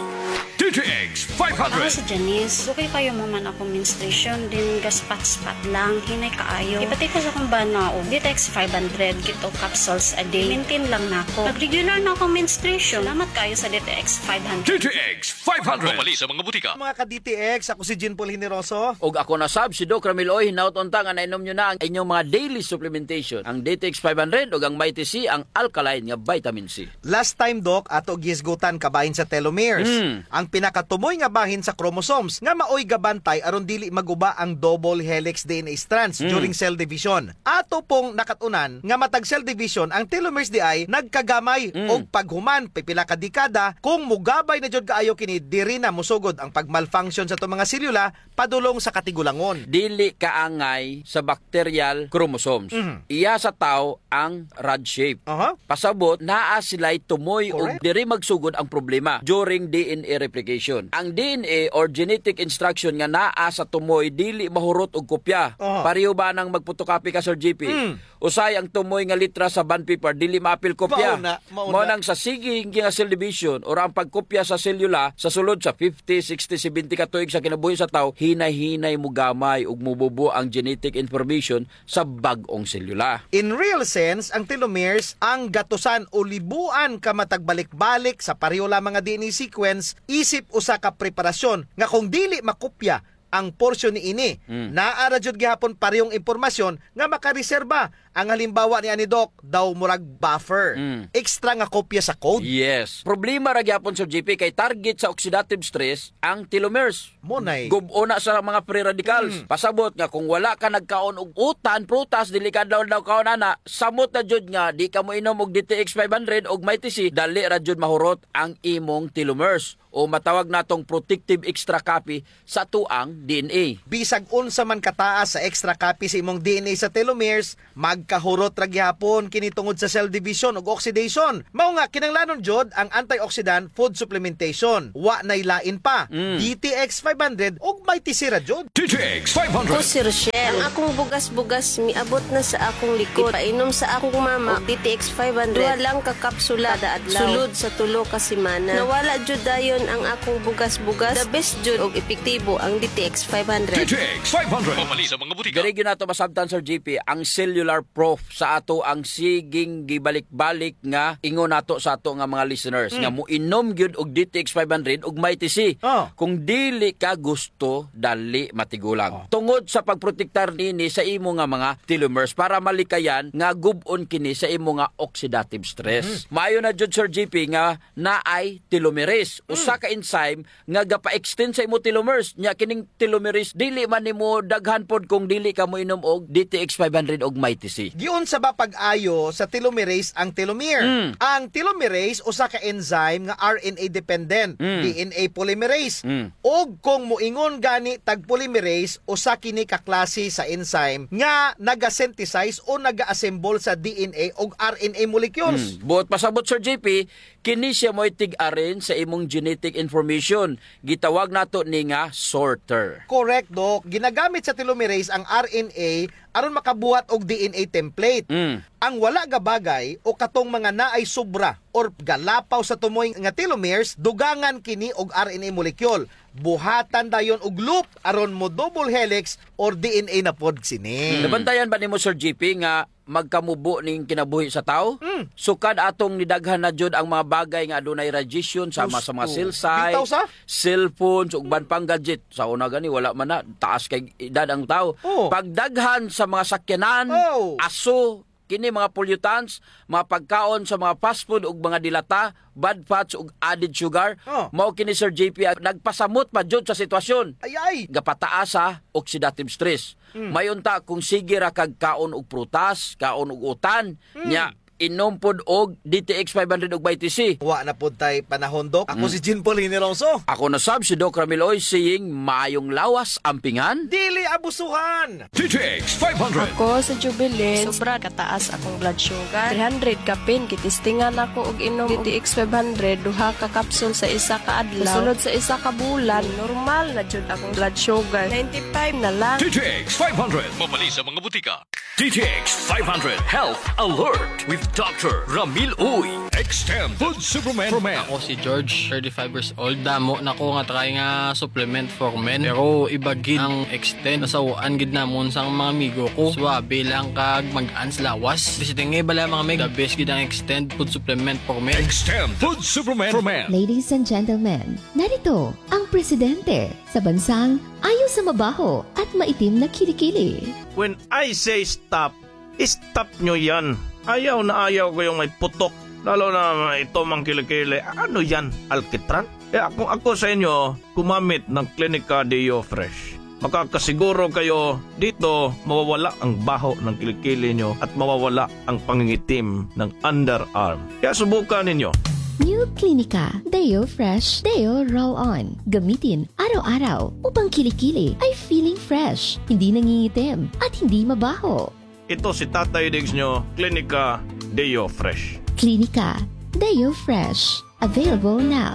D T X five hundred. Ako si Janice. Dugay kaayo man akon menstruation, then gaspat-spat lang, hinay kaayo. Ipati ko sa akon bana og D T X five hundred, two capsules a day. Maintain lang nako. Nag-regular na akon menstruation. Salamat kaayo sa D T X five hundred. D T X five hundred. Mabibili sa mga butika. Mga ka-D T X, ako si Jean Paul Generoso. Ug ako na sab, si Doc Ramil Uy, hinaot unta nga nainom niyo na ang inyong mga daily supplementation, ang D T X five hundred ug ang Mighty C, ang alkaline nga vitamin C. Last time, Doc, ato gihisgutan kabahin sa telomeres. Mm. Ang pinakatumoy nga bahin sa chromosomes nga maoy gabantay aron dili maguba ang double helix D N A strands, mm, during cell division. Ato pong nakat-unan nga matag cell division, ang telomeres diay nagkagamay, mm, og paghuman pipila ka dekada. Kung mogabay na jud kaayo kini, diri na mosugod ang pagmalfunction sa ato mga selula padulong sa katigulangon. Dili kaangay sa bacterial chromosomes. Mhm. Iya sa tawo ang rod shape. Aha. Pasabot, naa sila'y tumoy ug, correct, diri magsugod ang problema during D N A replication. Ang D N A or genetic instruction nga naa sa tumoy dili mahurot og kopya. Aha. Pareho ba nang magpotocopy ka, Sir G P? Mm. Usahay ang tumoy nga litra sa bond paper, dili maapil kopya. Mao na, mao Mao na. nang sa sige nga cell division, or ang pagkopya sa selula sa sulod sa fifty, sixty, seventy ka tuig sa kinabuhi sa tawo, hinay-hinay mogamay ug mobubo ang genetic information sa bag-ong selula. In real sense, ang telomeres, ang gatusan o libuan ka matag balik-balik sa pareho lamang nga D N A sequence, isip usa ka preparasyon nga kung dili makopya ang porsyon niini, Mm. naa ra jud gihapon parehong impormasyon nga makareserba. Ang halimbawa niani, Doc, daw murag buffer. Mm. Extra nga kopya sa code. Yes. Problema ra gihapon, Sir G P, kay target sa oxidative stress ang telomeres. Mo nay. Gub-on na sa mga free radicals. Mm. Pasabot nga kung wala ka nagkaon og utan, prutas, dili ka daw daw kaon ana, samot na jud nga di ka moinom og D T X five hundred og Mighty C, dali ra jud mahurot ang imong telomeres, o matawag natong protective extra copy sa atoang D N A. Bisag unsa man kataas sa extra copy sa imong D N A sa telomeres, magkahurot ra gihapon kini tungod sa cell division ug oxidation. Mao nga, kinahanglanon jud ang antioxidant food supplementation. Wa nay lain pa, Mm. D T X five hundred ug Mighty C ra jud. D T X five hundred. Ako si Rochelle. Ang akong bugas-bugas miabot na sa akong likod. Ipainom sa akong mama og D T X five hundred. Duha lang ka kapsula kada adlaw. Sulod sa tulo ka semana. Nawala jud dayon ang akong bugas-bugas. The best jud og epektibo ang D T X five hundred. D T X five hundred. Mamalit sa mga butika. Diri gyud nato masabtan, Sir G P, ang cellular proof sa atoang siging gibalik-balik nga ingon nato sa ato nga mga listeners Mm. nga moinom gyud og D T X five hundred ug Mighty C. Oh. Kung dili ka gusto, dali matigulang. Oh. Tungod sa pagprotektar nini sa imo nga mga telomeres para malikayan nga gub-on kini sa imo nga oxidative stress. Mm. Maayo na jud, Sir G P, nga naay telomerase, Mm. usa ka enzyme nga gapa-extend sa imo telomeres. Nya kining telomerase, dili man nimo daghan pod kung dili ka moinom og D T X five hundred og Mighty C. Giunsa ba pag-ayo sa telomerase ang telomere? Mm. Ang telomerase usa ka enzyme nga R N A dependent, Mm. D N A polymerase. Mm. Ug kung moingon gani tag polymerase, usa kini ka klase sa enzyme nga naga-synthesize o naga-assemble sa D N A ug R N A molecules. Mm. Buot pasabot, Sir J P, kini siya mo'y tig-arrange sa imong genetic information. Gitawag nato ni nga sorter. Correct, Doc. Ginagamit sa telomerase ang R N A aron makabuhat og D N A template. Mm. Ang wala gabagay o katong mga naay sobra or galapaw sa tumoy nga telomeres, dugangan kini og R N A molecule. Buhatan dayon og loop aron mo double helix or D N A na pod sini. Mm. Nabantayan ba nimo, Sir J P, nga magkamubo ning kinabuhi sa tawo? Mm. Sukad atong nidaghan na jud ang mga bagay nga adunay radiation, sama sa mga Sus, cell site, bitaw sa? Cellphones, ug uban pang gadget. Sa una gani, wala man na, taas kay edad ang tawo. Oh. Pagdaghan sa mga sakyanan, Oh. aso, kini mga pollutants, mga pagkaon sa mga fast food ug mga dilata, bad fats ug added sugar. Oh. Mao kini, Sir J P, ang nagpasamot pa jud sa sitwasyon. Ay, ay. Gapataas sa oxidative stress. Mm. May unta kung sige ra kag kaon og prutas, kaon og utan, Mm. nya inom pod og D T X five hundred ug Mighty C. Wa na pod tay panahon, Doc. Ako Mm. si Jean Paul Hiniroso. Ako na sab si Doc Ramil Oy, saying, maayong lawas, ampingan. Dili abusuhan. D T X five hundred. Ako si Jubilin. Sobra kataas akong blood sugar. Three hundred kapin, gitistingan ako og inom D T X five hundred, duha ka kapsul sa isa ka adlaw. Sulod sa isa ka bulan, normal na jud akong blood sugar. Ninety-five na lang. D T X five hundred. Mabali sa mga butika. D T X five hundred Health Alert with Doctor Ramil Uy. Extend Food Supplement for Men. Ako si George, thirty-five years old. Damo na ko nga try nga supplement for men. Pero iba gid ang Extend. Nasaw-an gid namon sang mga amigo ko. Swabe lang kag mag-ans lawas. Basta nga bala, mga mig, the best gid ang Extend Food Supplement for Men. Extend Food Supplement for Men. Ladies and gentlemen, narito ang presidente sa bansang ayaw sa mabaho at maitim na kilikili. When I say stop, stop nyo yan. Ayaw na ayaw ko yung may putok. Lalo na ito mang kilikili. Ano yan? Alkitran? Kaya kung ako sa inyo, gumamit ng Clinica Deo Fresh. Makakasiguro kayo dito mawawala ang baho ng kilikili nyo at mawawala ang pangingitim ng underarm. Kaya subukan ninyo. New Clinica Deo Fresh Deo Roll-On. Gamitin araw-araw upang kilikili ay feeling fresh, hindi nangingitim, at hindi mabaho. Ito si Tatay Diggs nyo, Clinica Deo Fresh. Clinica Deo Fresh. Available now.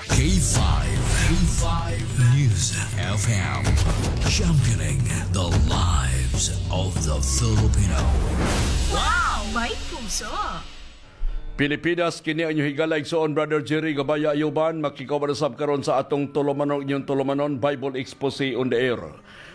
K five, K five News F M. Championing the lives of the Filipino. Wow! May puso! Pilipinas, kini an inyo higala, igsoon, Brother Jerry Gabaya Ayuban, makikauban na sab karon sa atong tulumanon, inyong tulumanon, Bible Expose on the Air.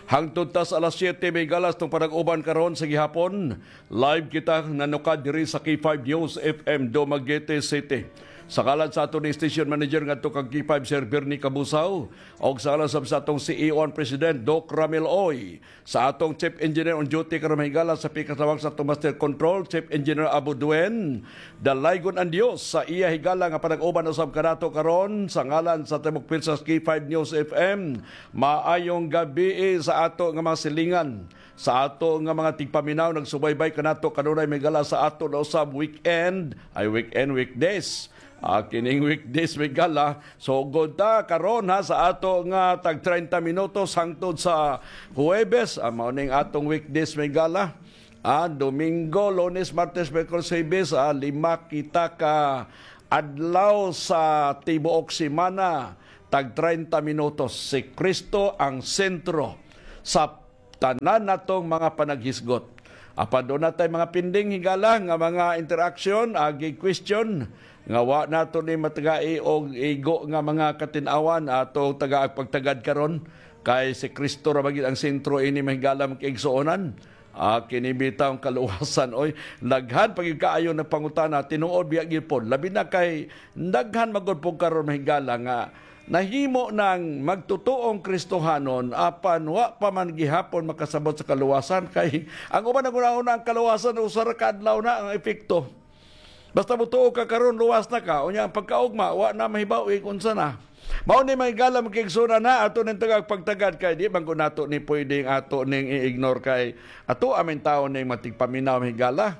Hangtod ta sa alas siyete, mga higala, sa atong panag-uban karon sa gihapon, live kita nanukad diri sa K five News F M Dumaguete City. Sa ngalan sa aton station manager ngadto kang K five, Sir Bernie Kabusaw, og sa ngalan sab sa atong C E O and President, Doc Ramil Oy, sa atong Chief Engineer on duty karon, mga higala, sa pikatawag sa atong Master Control, Chief Engineer Abu Duen. Dalaygon an Dios sa iya higala nga panag-uban usab kanato karon, sa ngalan sa tibuok pwersa sa K five News F M. Maayong gabii sa ato nga mga silingan, sa ato nga mga tigpaminaw nagsubaybay kanato kanunay, mga higala, sa ato na usab weekend, ay, weekend, weekdays. Ah, kining weekdays, mga higala. So, good ta karon, ha, sa ato nga tag treinta minutos hangtod sa Huwebes. Ah, mao ning atong weekdays, mga higala. Ah, Domingo, Lunes, Martes, Miyerkules, Huwebes, ah, lima kita ka adlaw sa tibuok semana, tag treinta minutos. Si Kristo ang sentro sa tanan natong mga panaghisgot. Apan duna tay mga pending, higala, nga mga interaction, agi, question, nga wa nato ni matagai og igo nga mga katin-awan ato taga pagtagad karon, kay si Kristo ra ba gid ang sentro ini, mga higala, mga kaigsuonan. Ah, kini bitaw ang kaluwasan, oy. Daghan pa gid kaayo nagpangutana, tinuod biya gihapon. Labi na kay daghan man gud pod karon, mga higala, nga nahimo nang magtutuong Kristohanon, apan wa pa man gihapon makasabot sa kaluwasan. Kay ang uban, naghunahuna ang kaluwasan, usa ra ka adlaw na ang epekto. Basta motuo ka karon, luwas na ka. Unya, ang pagkaugma, wa na mahibaw-i kung unsa na. Mao ni, mga higala, mga kaigsuonan, ha, ato ning tagaag pagtagad kay di man gud nato ni pwedeng ato ning i-ignore kay ato aming tawo ning matigpaminaw, mga higala,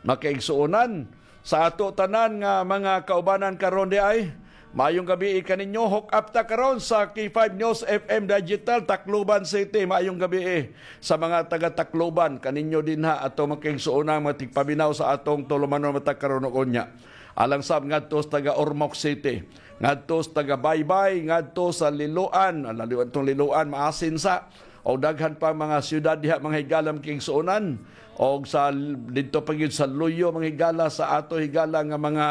mga kaigsuonan. Sa ato tanan nga mga kaubanan karon diay, maayong gabii kaninyo. Hook up ta karon sa K five News F M Digital, Tacloban City. Maayong gabii sa mga taga Tacloban, kaninyo dinha, ato mga kaigsuonan, mga tigpaminaw sa atong tulumanon matag karon ug unya. Alang sab ngadto sa taga Ormoc City, ngadto sa taga Baybay, ngadto sa Liloan, ah, Liloan, tong Liloan, maasin sa, o daghan pa mga siyudad diha, mga higala, mga kaigsuonan, og sa, didto pa gyud sa luyo, mga higala, sa ato higala nga mga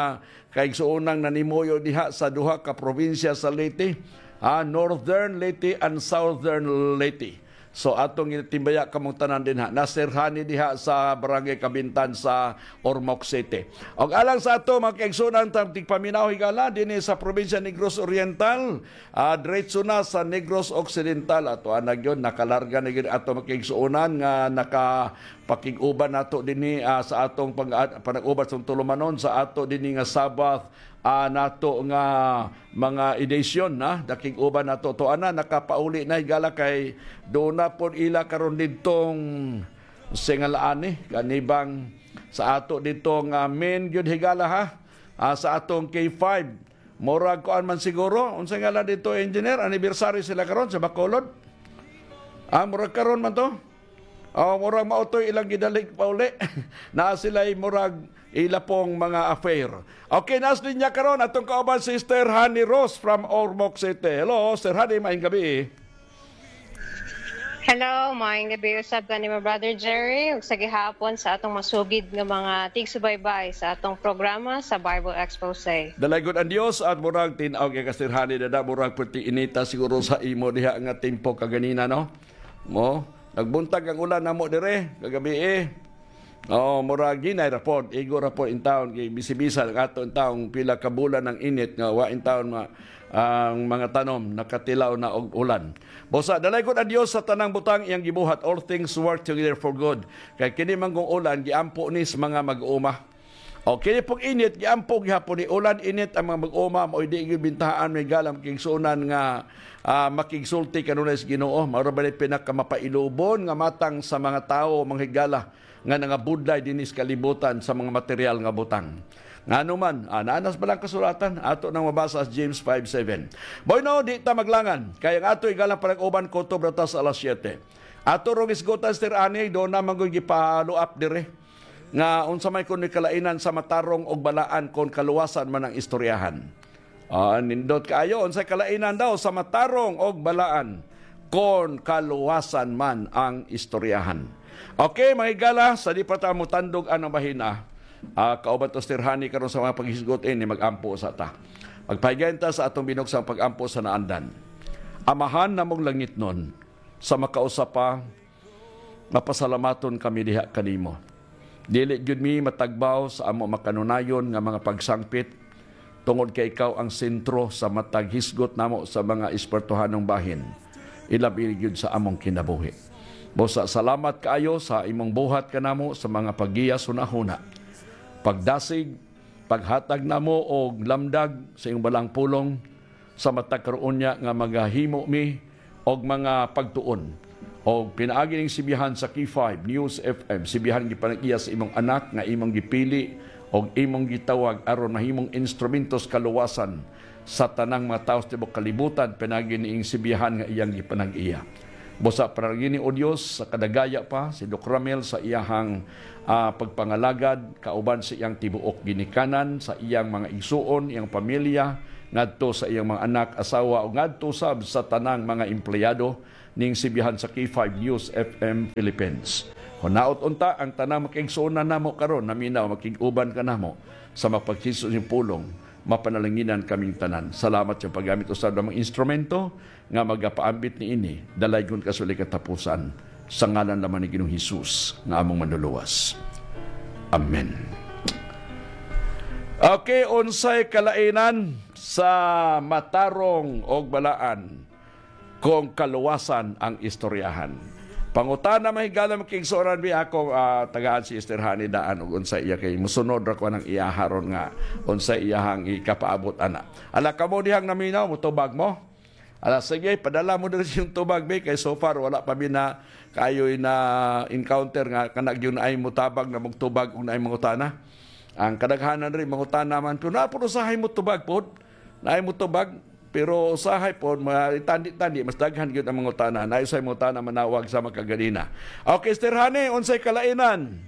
kaigsuonang nanimuyo diha sa duha ka probinsya sa Leyte, ah, Northern Leyte and Southern Leyte. So, atong ginatimbaya kamong tanan dinha. Nasirhani diha sa Barangay Kabintan sa Ormoc City. Og alang sa ato, mga kaigsuonan, tang tigpaminaw, higala, dinhi sa probinsya Negros Oriental, ah, diretso na sa Negros Occidental. Ato ana gyud, nakalarga na gyud ato, mga kaigsuonan, nga nakapakig-uban nato dinhi, ah, sa atong pag-, panag-uban sa tulumanon sa ato dinhi nga Sabbath, ah, nato nga mga edisyon, ha, nakig-uban nato. Ato ana, nakapauli na, higala, kay duna pod ila karon didtong singalaan ni, kani bang sa ato didto nga main gyud, higala, ha, ah, sa atong K five. Murag kuan man siguro, unsay ngalan didto, engineer? Anniversary sila karon sa Bacolod? Ah, murag karon man to. O, murag mao toy ilang gidalig pauli. Naa sila'y murag ila pong mga affair. Okay, naa sa linya karon atong kauban, Sister Honey Rose from Ormoc City. Hello, Sister Honey, maayong gabii. Hello, maayong gabii usab kanimo, Brother Jerry, ug sa gihapon sa atong masugid nga mga tigsubaybay sa atong programa sa Bible Expose. Dalaygon an Dios at murag tin-aw kay ka, Sister Honey, dada, murag perti inita siguro sa imo diha nga tempo kaganina, no? Mo, nagbuntag ang ulan namo dire kagabii, eh. Oh, mura ginay ra pod, igo ra pod intawon, kay bisibisa ang ato intawon pila ka bulan ang init nga wa intawon ma-, ang mga tanom nakatilaw na og ulan. Busa, dalaygon an Dios sa tanang butang iyang gibuhat, all things work together for good. Kay kini man gung ulan, giampo ni sa mga mag-uuma. O, kini pong init, giampo gihapon ni, ulan, init, ang mga mag-uuma, mao'y di gyud bintahaan, mga higala, mga kaigsuonan, nga, ah, makigsulti kanunay sa Ginoo. Mao ra ba ni pinakamapailubon nga matang sa mga tawo, mga higala, nga nangabudlay dinhi sa kalibutan sa mga material nga butang. Ngano man, ah, naa na sa Balaang Kasulatan, ato nang mabasa sa James five seven. Bueno, di ta maglangan, kay ang ato higalang panag-uban, kutob na ta sa alas siyete. Ato rong hisgutan, Sister Honey, duna man gud gipa-follow up dire. Nga unsa may kon may kalainan sa matarong og balaan kon kaluwasan man ang istoryahan. Ah, nindot kaayo, unsay kalainan daw sa matarong og balaan kon kaluwasan man ang istoryahan? Okay, mga higala, sa di pa ta motandog anang bahina, ah, kauban ta si Sir Honey karon sa mga paghisgot ini, mag-ampo sa ta. Magpahigayon ta sa atong binuksang pag-ampo sa naandan. Amahan namong langitnon, sa makausa pa, mapasalamaton kami diha kanimo. Dili gyud mi matagbaw sa amo makanunayon nga mga pagsangpit, tungod kay ikaw ang sentro sa matag hisgot namo sa mga espirituhanong bahin, ilabi gyud sa among kinabuhi. Busa, salamat kaayo sa imong buhat kanamo sa mga paggiya sa hunahuna, pagdasig, paghatag namo og lamdag sa imong balaang pulong, sa matag karon unya nga magahimo mi og mga pagtuon. Og pinaagi ning sibyahan sa K five News F M, sibyahan gipanag-iya sa imong anak nga imong gipili og imong gitawag aron mahimong instrumento sa kaluwasan sa tanang mga tawo sa tibuok kalibutan, pinaagi ning sibyahan nga iyang gipanag-iya. Busa, panalangini, O Dios, sa kadagaya pa si Doc Ramel sa iyahang, ah, pagpangalagad, kauban sa iyang tibuok ginikanan, sa iyang mga igsuon, iyang pamilya, ngadto sa iyang mga anak, asawa, ug ngadto sab sa tanang mga empleyado ning sibyahan sa K five News F M Philippines. Hunaot unta ang tanang mga kaigsuonan namo karon, naminaw, makig-uban kanamo sa mga paghisgot sa inyong pulong. Mapanalanginan kaming tanan. Salamat sa paggamit usab namong instrumento nga magapaambit niini, dalaygon ka sa walay katapusan. Sa ngalan lamang ni Ginoong Hesus nga among Manluluwas. Amen. Okay, unsay kalainan sa matarong og balaan kon kaluwasan ang istoryahan? Pangutana, mga higala, mga kaigsuonan, bi, ako, ah, tagaan si Sir Honey daan og unsay iya, kay mosunod ra ko anang iyaha ron nga unsay iyahang ikapaabot ana. Ala, kamo dihang naminaw, motubag mo? Ala, sige, padala mo diri sa inyong tubag, bi, kay so far wala pa mi na kaayoy na-encounter nga kana gyud naay motabang nga magtubag og naay mangutana. Ang kadaghanan diri mangutana man, pero naa pod usahay motubag pod. Naay motubag, pero usahay pod, mga itandi-tandi, mas daghan gyud ang mangutana. Naay usahay mangutana, manawag sa makaganina. Okay, Sir Honey, unsay kalainan?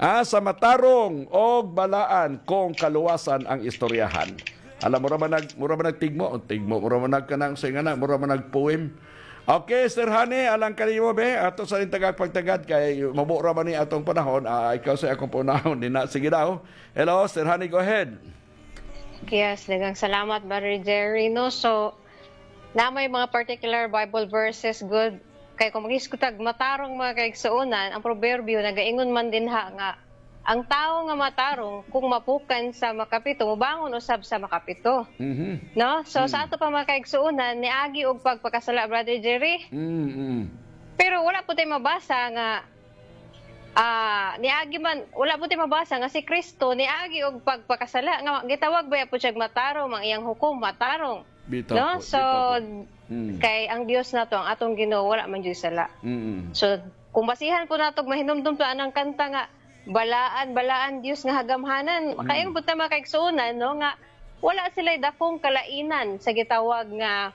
Ah, sa matarong og balaan kon kaluwasan ang istoryahan. Ala, mura man nag-, mura man nagtigmo, tigmo, mura man nagkanang, unsay ngana, mura man nag-poem. Okay, Sir Honey, alang kanimo, bi, ato sa ning tagaag pagtagad kay mabura man ni atong panahon, ah, ikaw sa akong panahon, di na. Sige daw. Hello, Sir Honey, go ahead. Yes, daghang salamat, Brother Jerry, no? So, naa may mga particular Bible verses, good. Kay kung maghisgot ta og matarong, mga kaigsuonan, ang proverbio nagaingon man dinha nga ang tawo nga matarong kung mapukan sa makapito, mobangon usab sa makapito. Mhm. No? So, sa ato pa, mga kaigsuonan, niagi og pagpakasala, Brother Jerry. Mm, mm. Pero wala pod tay mabasa nga Ah, niagi man, wala pod tay mabasa nga si Kristo niagi og pagpakasala, nga gitawag baya pod siya matarong, ang iyang hukom matarong. Bitaw. No? So, kay ang Dios nato, ang atong Ginoo, wala man jud sala. Mm. So, kung basihan pod nato, mahinumdom ta anang kanta nga, "Balaan, balaan, Dios nga hagamhanan." Makaingon pod ta, mga kaigsuonan, no, nga wala sila'y dakong kalainan sa gitawag nga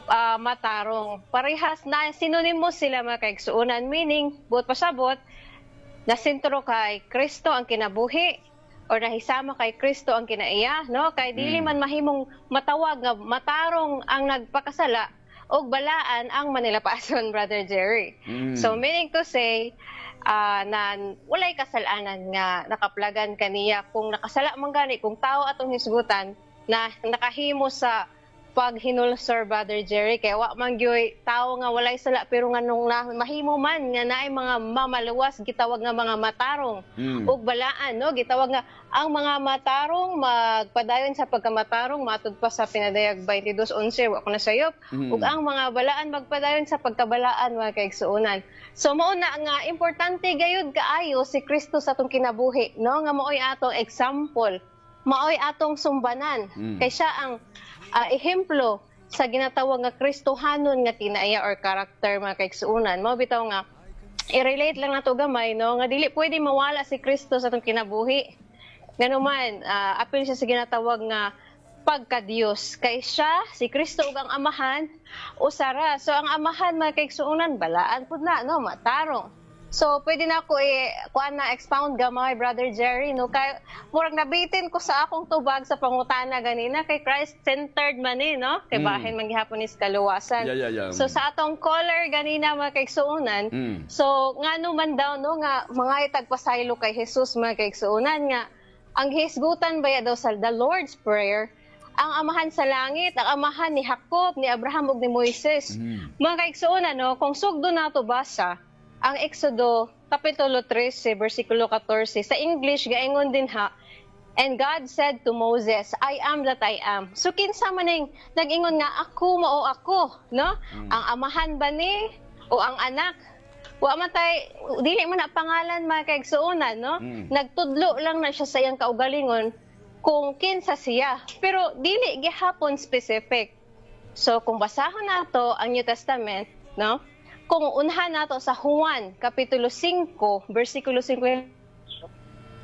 ah, matarong. Parehas na, synonymous sila, mga kaigsuonan. Meaning, buot pasabot, nasentro kay Kristo ang kinabuhi, or nahisama kay Kristo ang kinaiya, no? Kay dili man mahimong matawag nga matarong ang nagpakasala og balaan ang manilapason, Brother Jerry. So, meaning to say, ah, na walay kasalanan nga nakaplagan kaniya kung nakasala man gani, kung tawo atong hisgutan na nakahimo sa paghinulsol, Brother Jerry, kay wa man gyoy tawo nga walay sala, pero nganong na, mahimo man nga naay mga mamaluwas, gitawag nga mga matarong ug balaan, no? Gitawag nga ang mga matarong magpadayon sa pagkamatarong, matud pa sa Pinadayag twenty-two onse, wa ko nasayop. Ug ang mga balaan magpadayon sa pagkabalaan, mga kaigsuonan. So, mao na nga importante gayud kaayo si Kristo sa atong kinabuhi, no? Nga maoy atong example. Maoy atong sumbanan. Kay siya ang, ah, ehemplo sa ginatawag nga Kristohanon nga kinaiya or character, mga kaigsuonan. Mao bitaw nga, i-relate lang nato gamay, no, nga dili pwede mawala si Kristo sa atong kinabuhi. Ngano man, ah, apil siya sa ginatawag nga pagka-Dios. Kay siya, si Kristo ug ang Amahan, usa ra. So, ang Amahan, mga kaigsuonan, balaan pud na, no, matarong. So, pwede na ako i-, kuan na, expound gamay, Brother Jerry, no? Kay, murag nabitin ko sa akong tubag sa pangutana ganina, kay Christ-centered man eh, no? Kay bahin man gihapon is kaluwasan. So, sa atong caller ganina, mga kaigsuunan, so, ngano man daw, no, nga mga itagpasaylo kay Jesus, mga kaigsuunan, nga ang hisgutan baya daw sa the Lord's Prayer, ang Amahan sa Langit, ang Amahan ni Jacob, ni Abraham, ug ni Moises. Mga kaigsuunan, no, kung sugdo nato basa, ang Exodo, Kapitulo trese, bersikulo katorse, sa English, gaingon dinha, "And God said to Moses, 'I am that I am.'" So, kinsa man ning nag-ingon nga, "Ako, mao ako," no? Ang Amahan ba ni, o ang Anak? Wa man tay, dili man na pangalan, mga kaigsuunan, no? Nagtudlo lang na siya sa iyang kaugalingon kung kinsa siya. Pero dili gihapon specific. So, kung basahon nato ang New Testament, no? Kung unhan nato sa Juan, Kapitulo singko, bersikulo singko,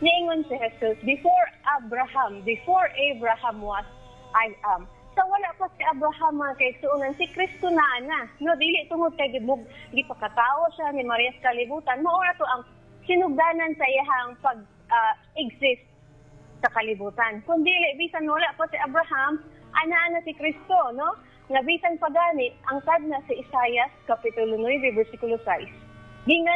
niingon si Jesus, "Before Abraham, before Abraham was, I am." So, wala pa si Abraham, mga kaigsuunan, si Kristo na na. No, dili tungod kay gibug-, gipakatawo siya ni Maria sa kalibutan. Mao na to ang sinugdanan sa iyahang pag, ah, exist sa kalibutan. Kung dili, bisan wala pa si Abraham, ana na si Kristo, no? Nga bisan pa gani, angkad na si Isaias, Kapitulo nuebe, bersikulo sais. Gingan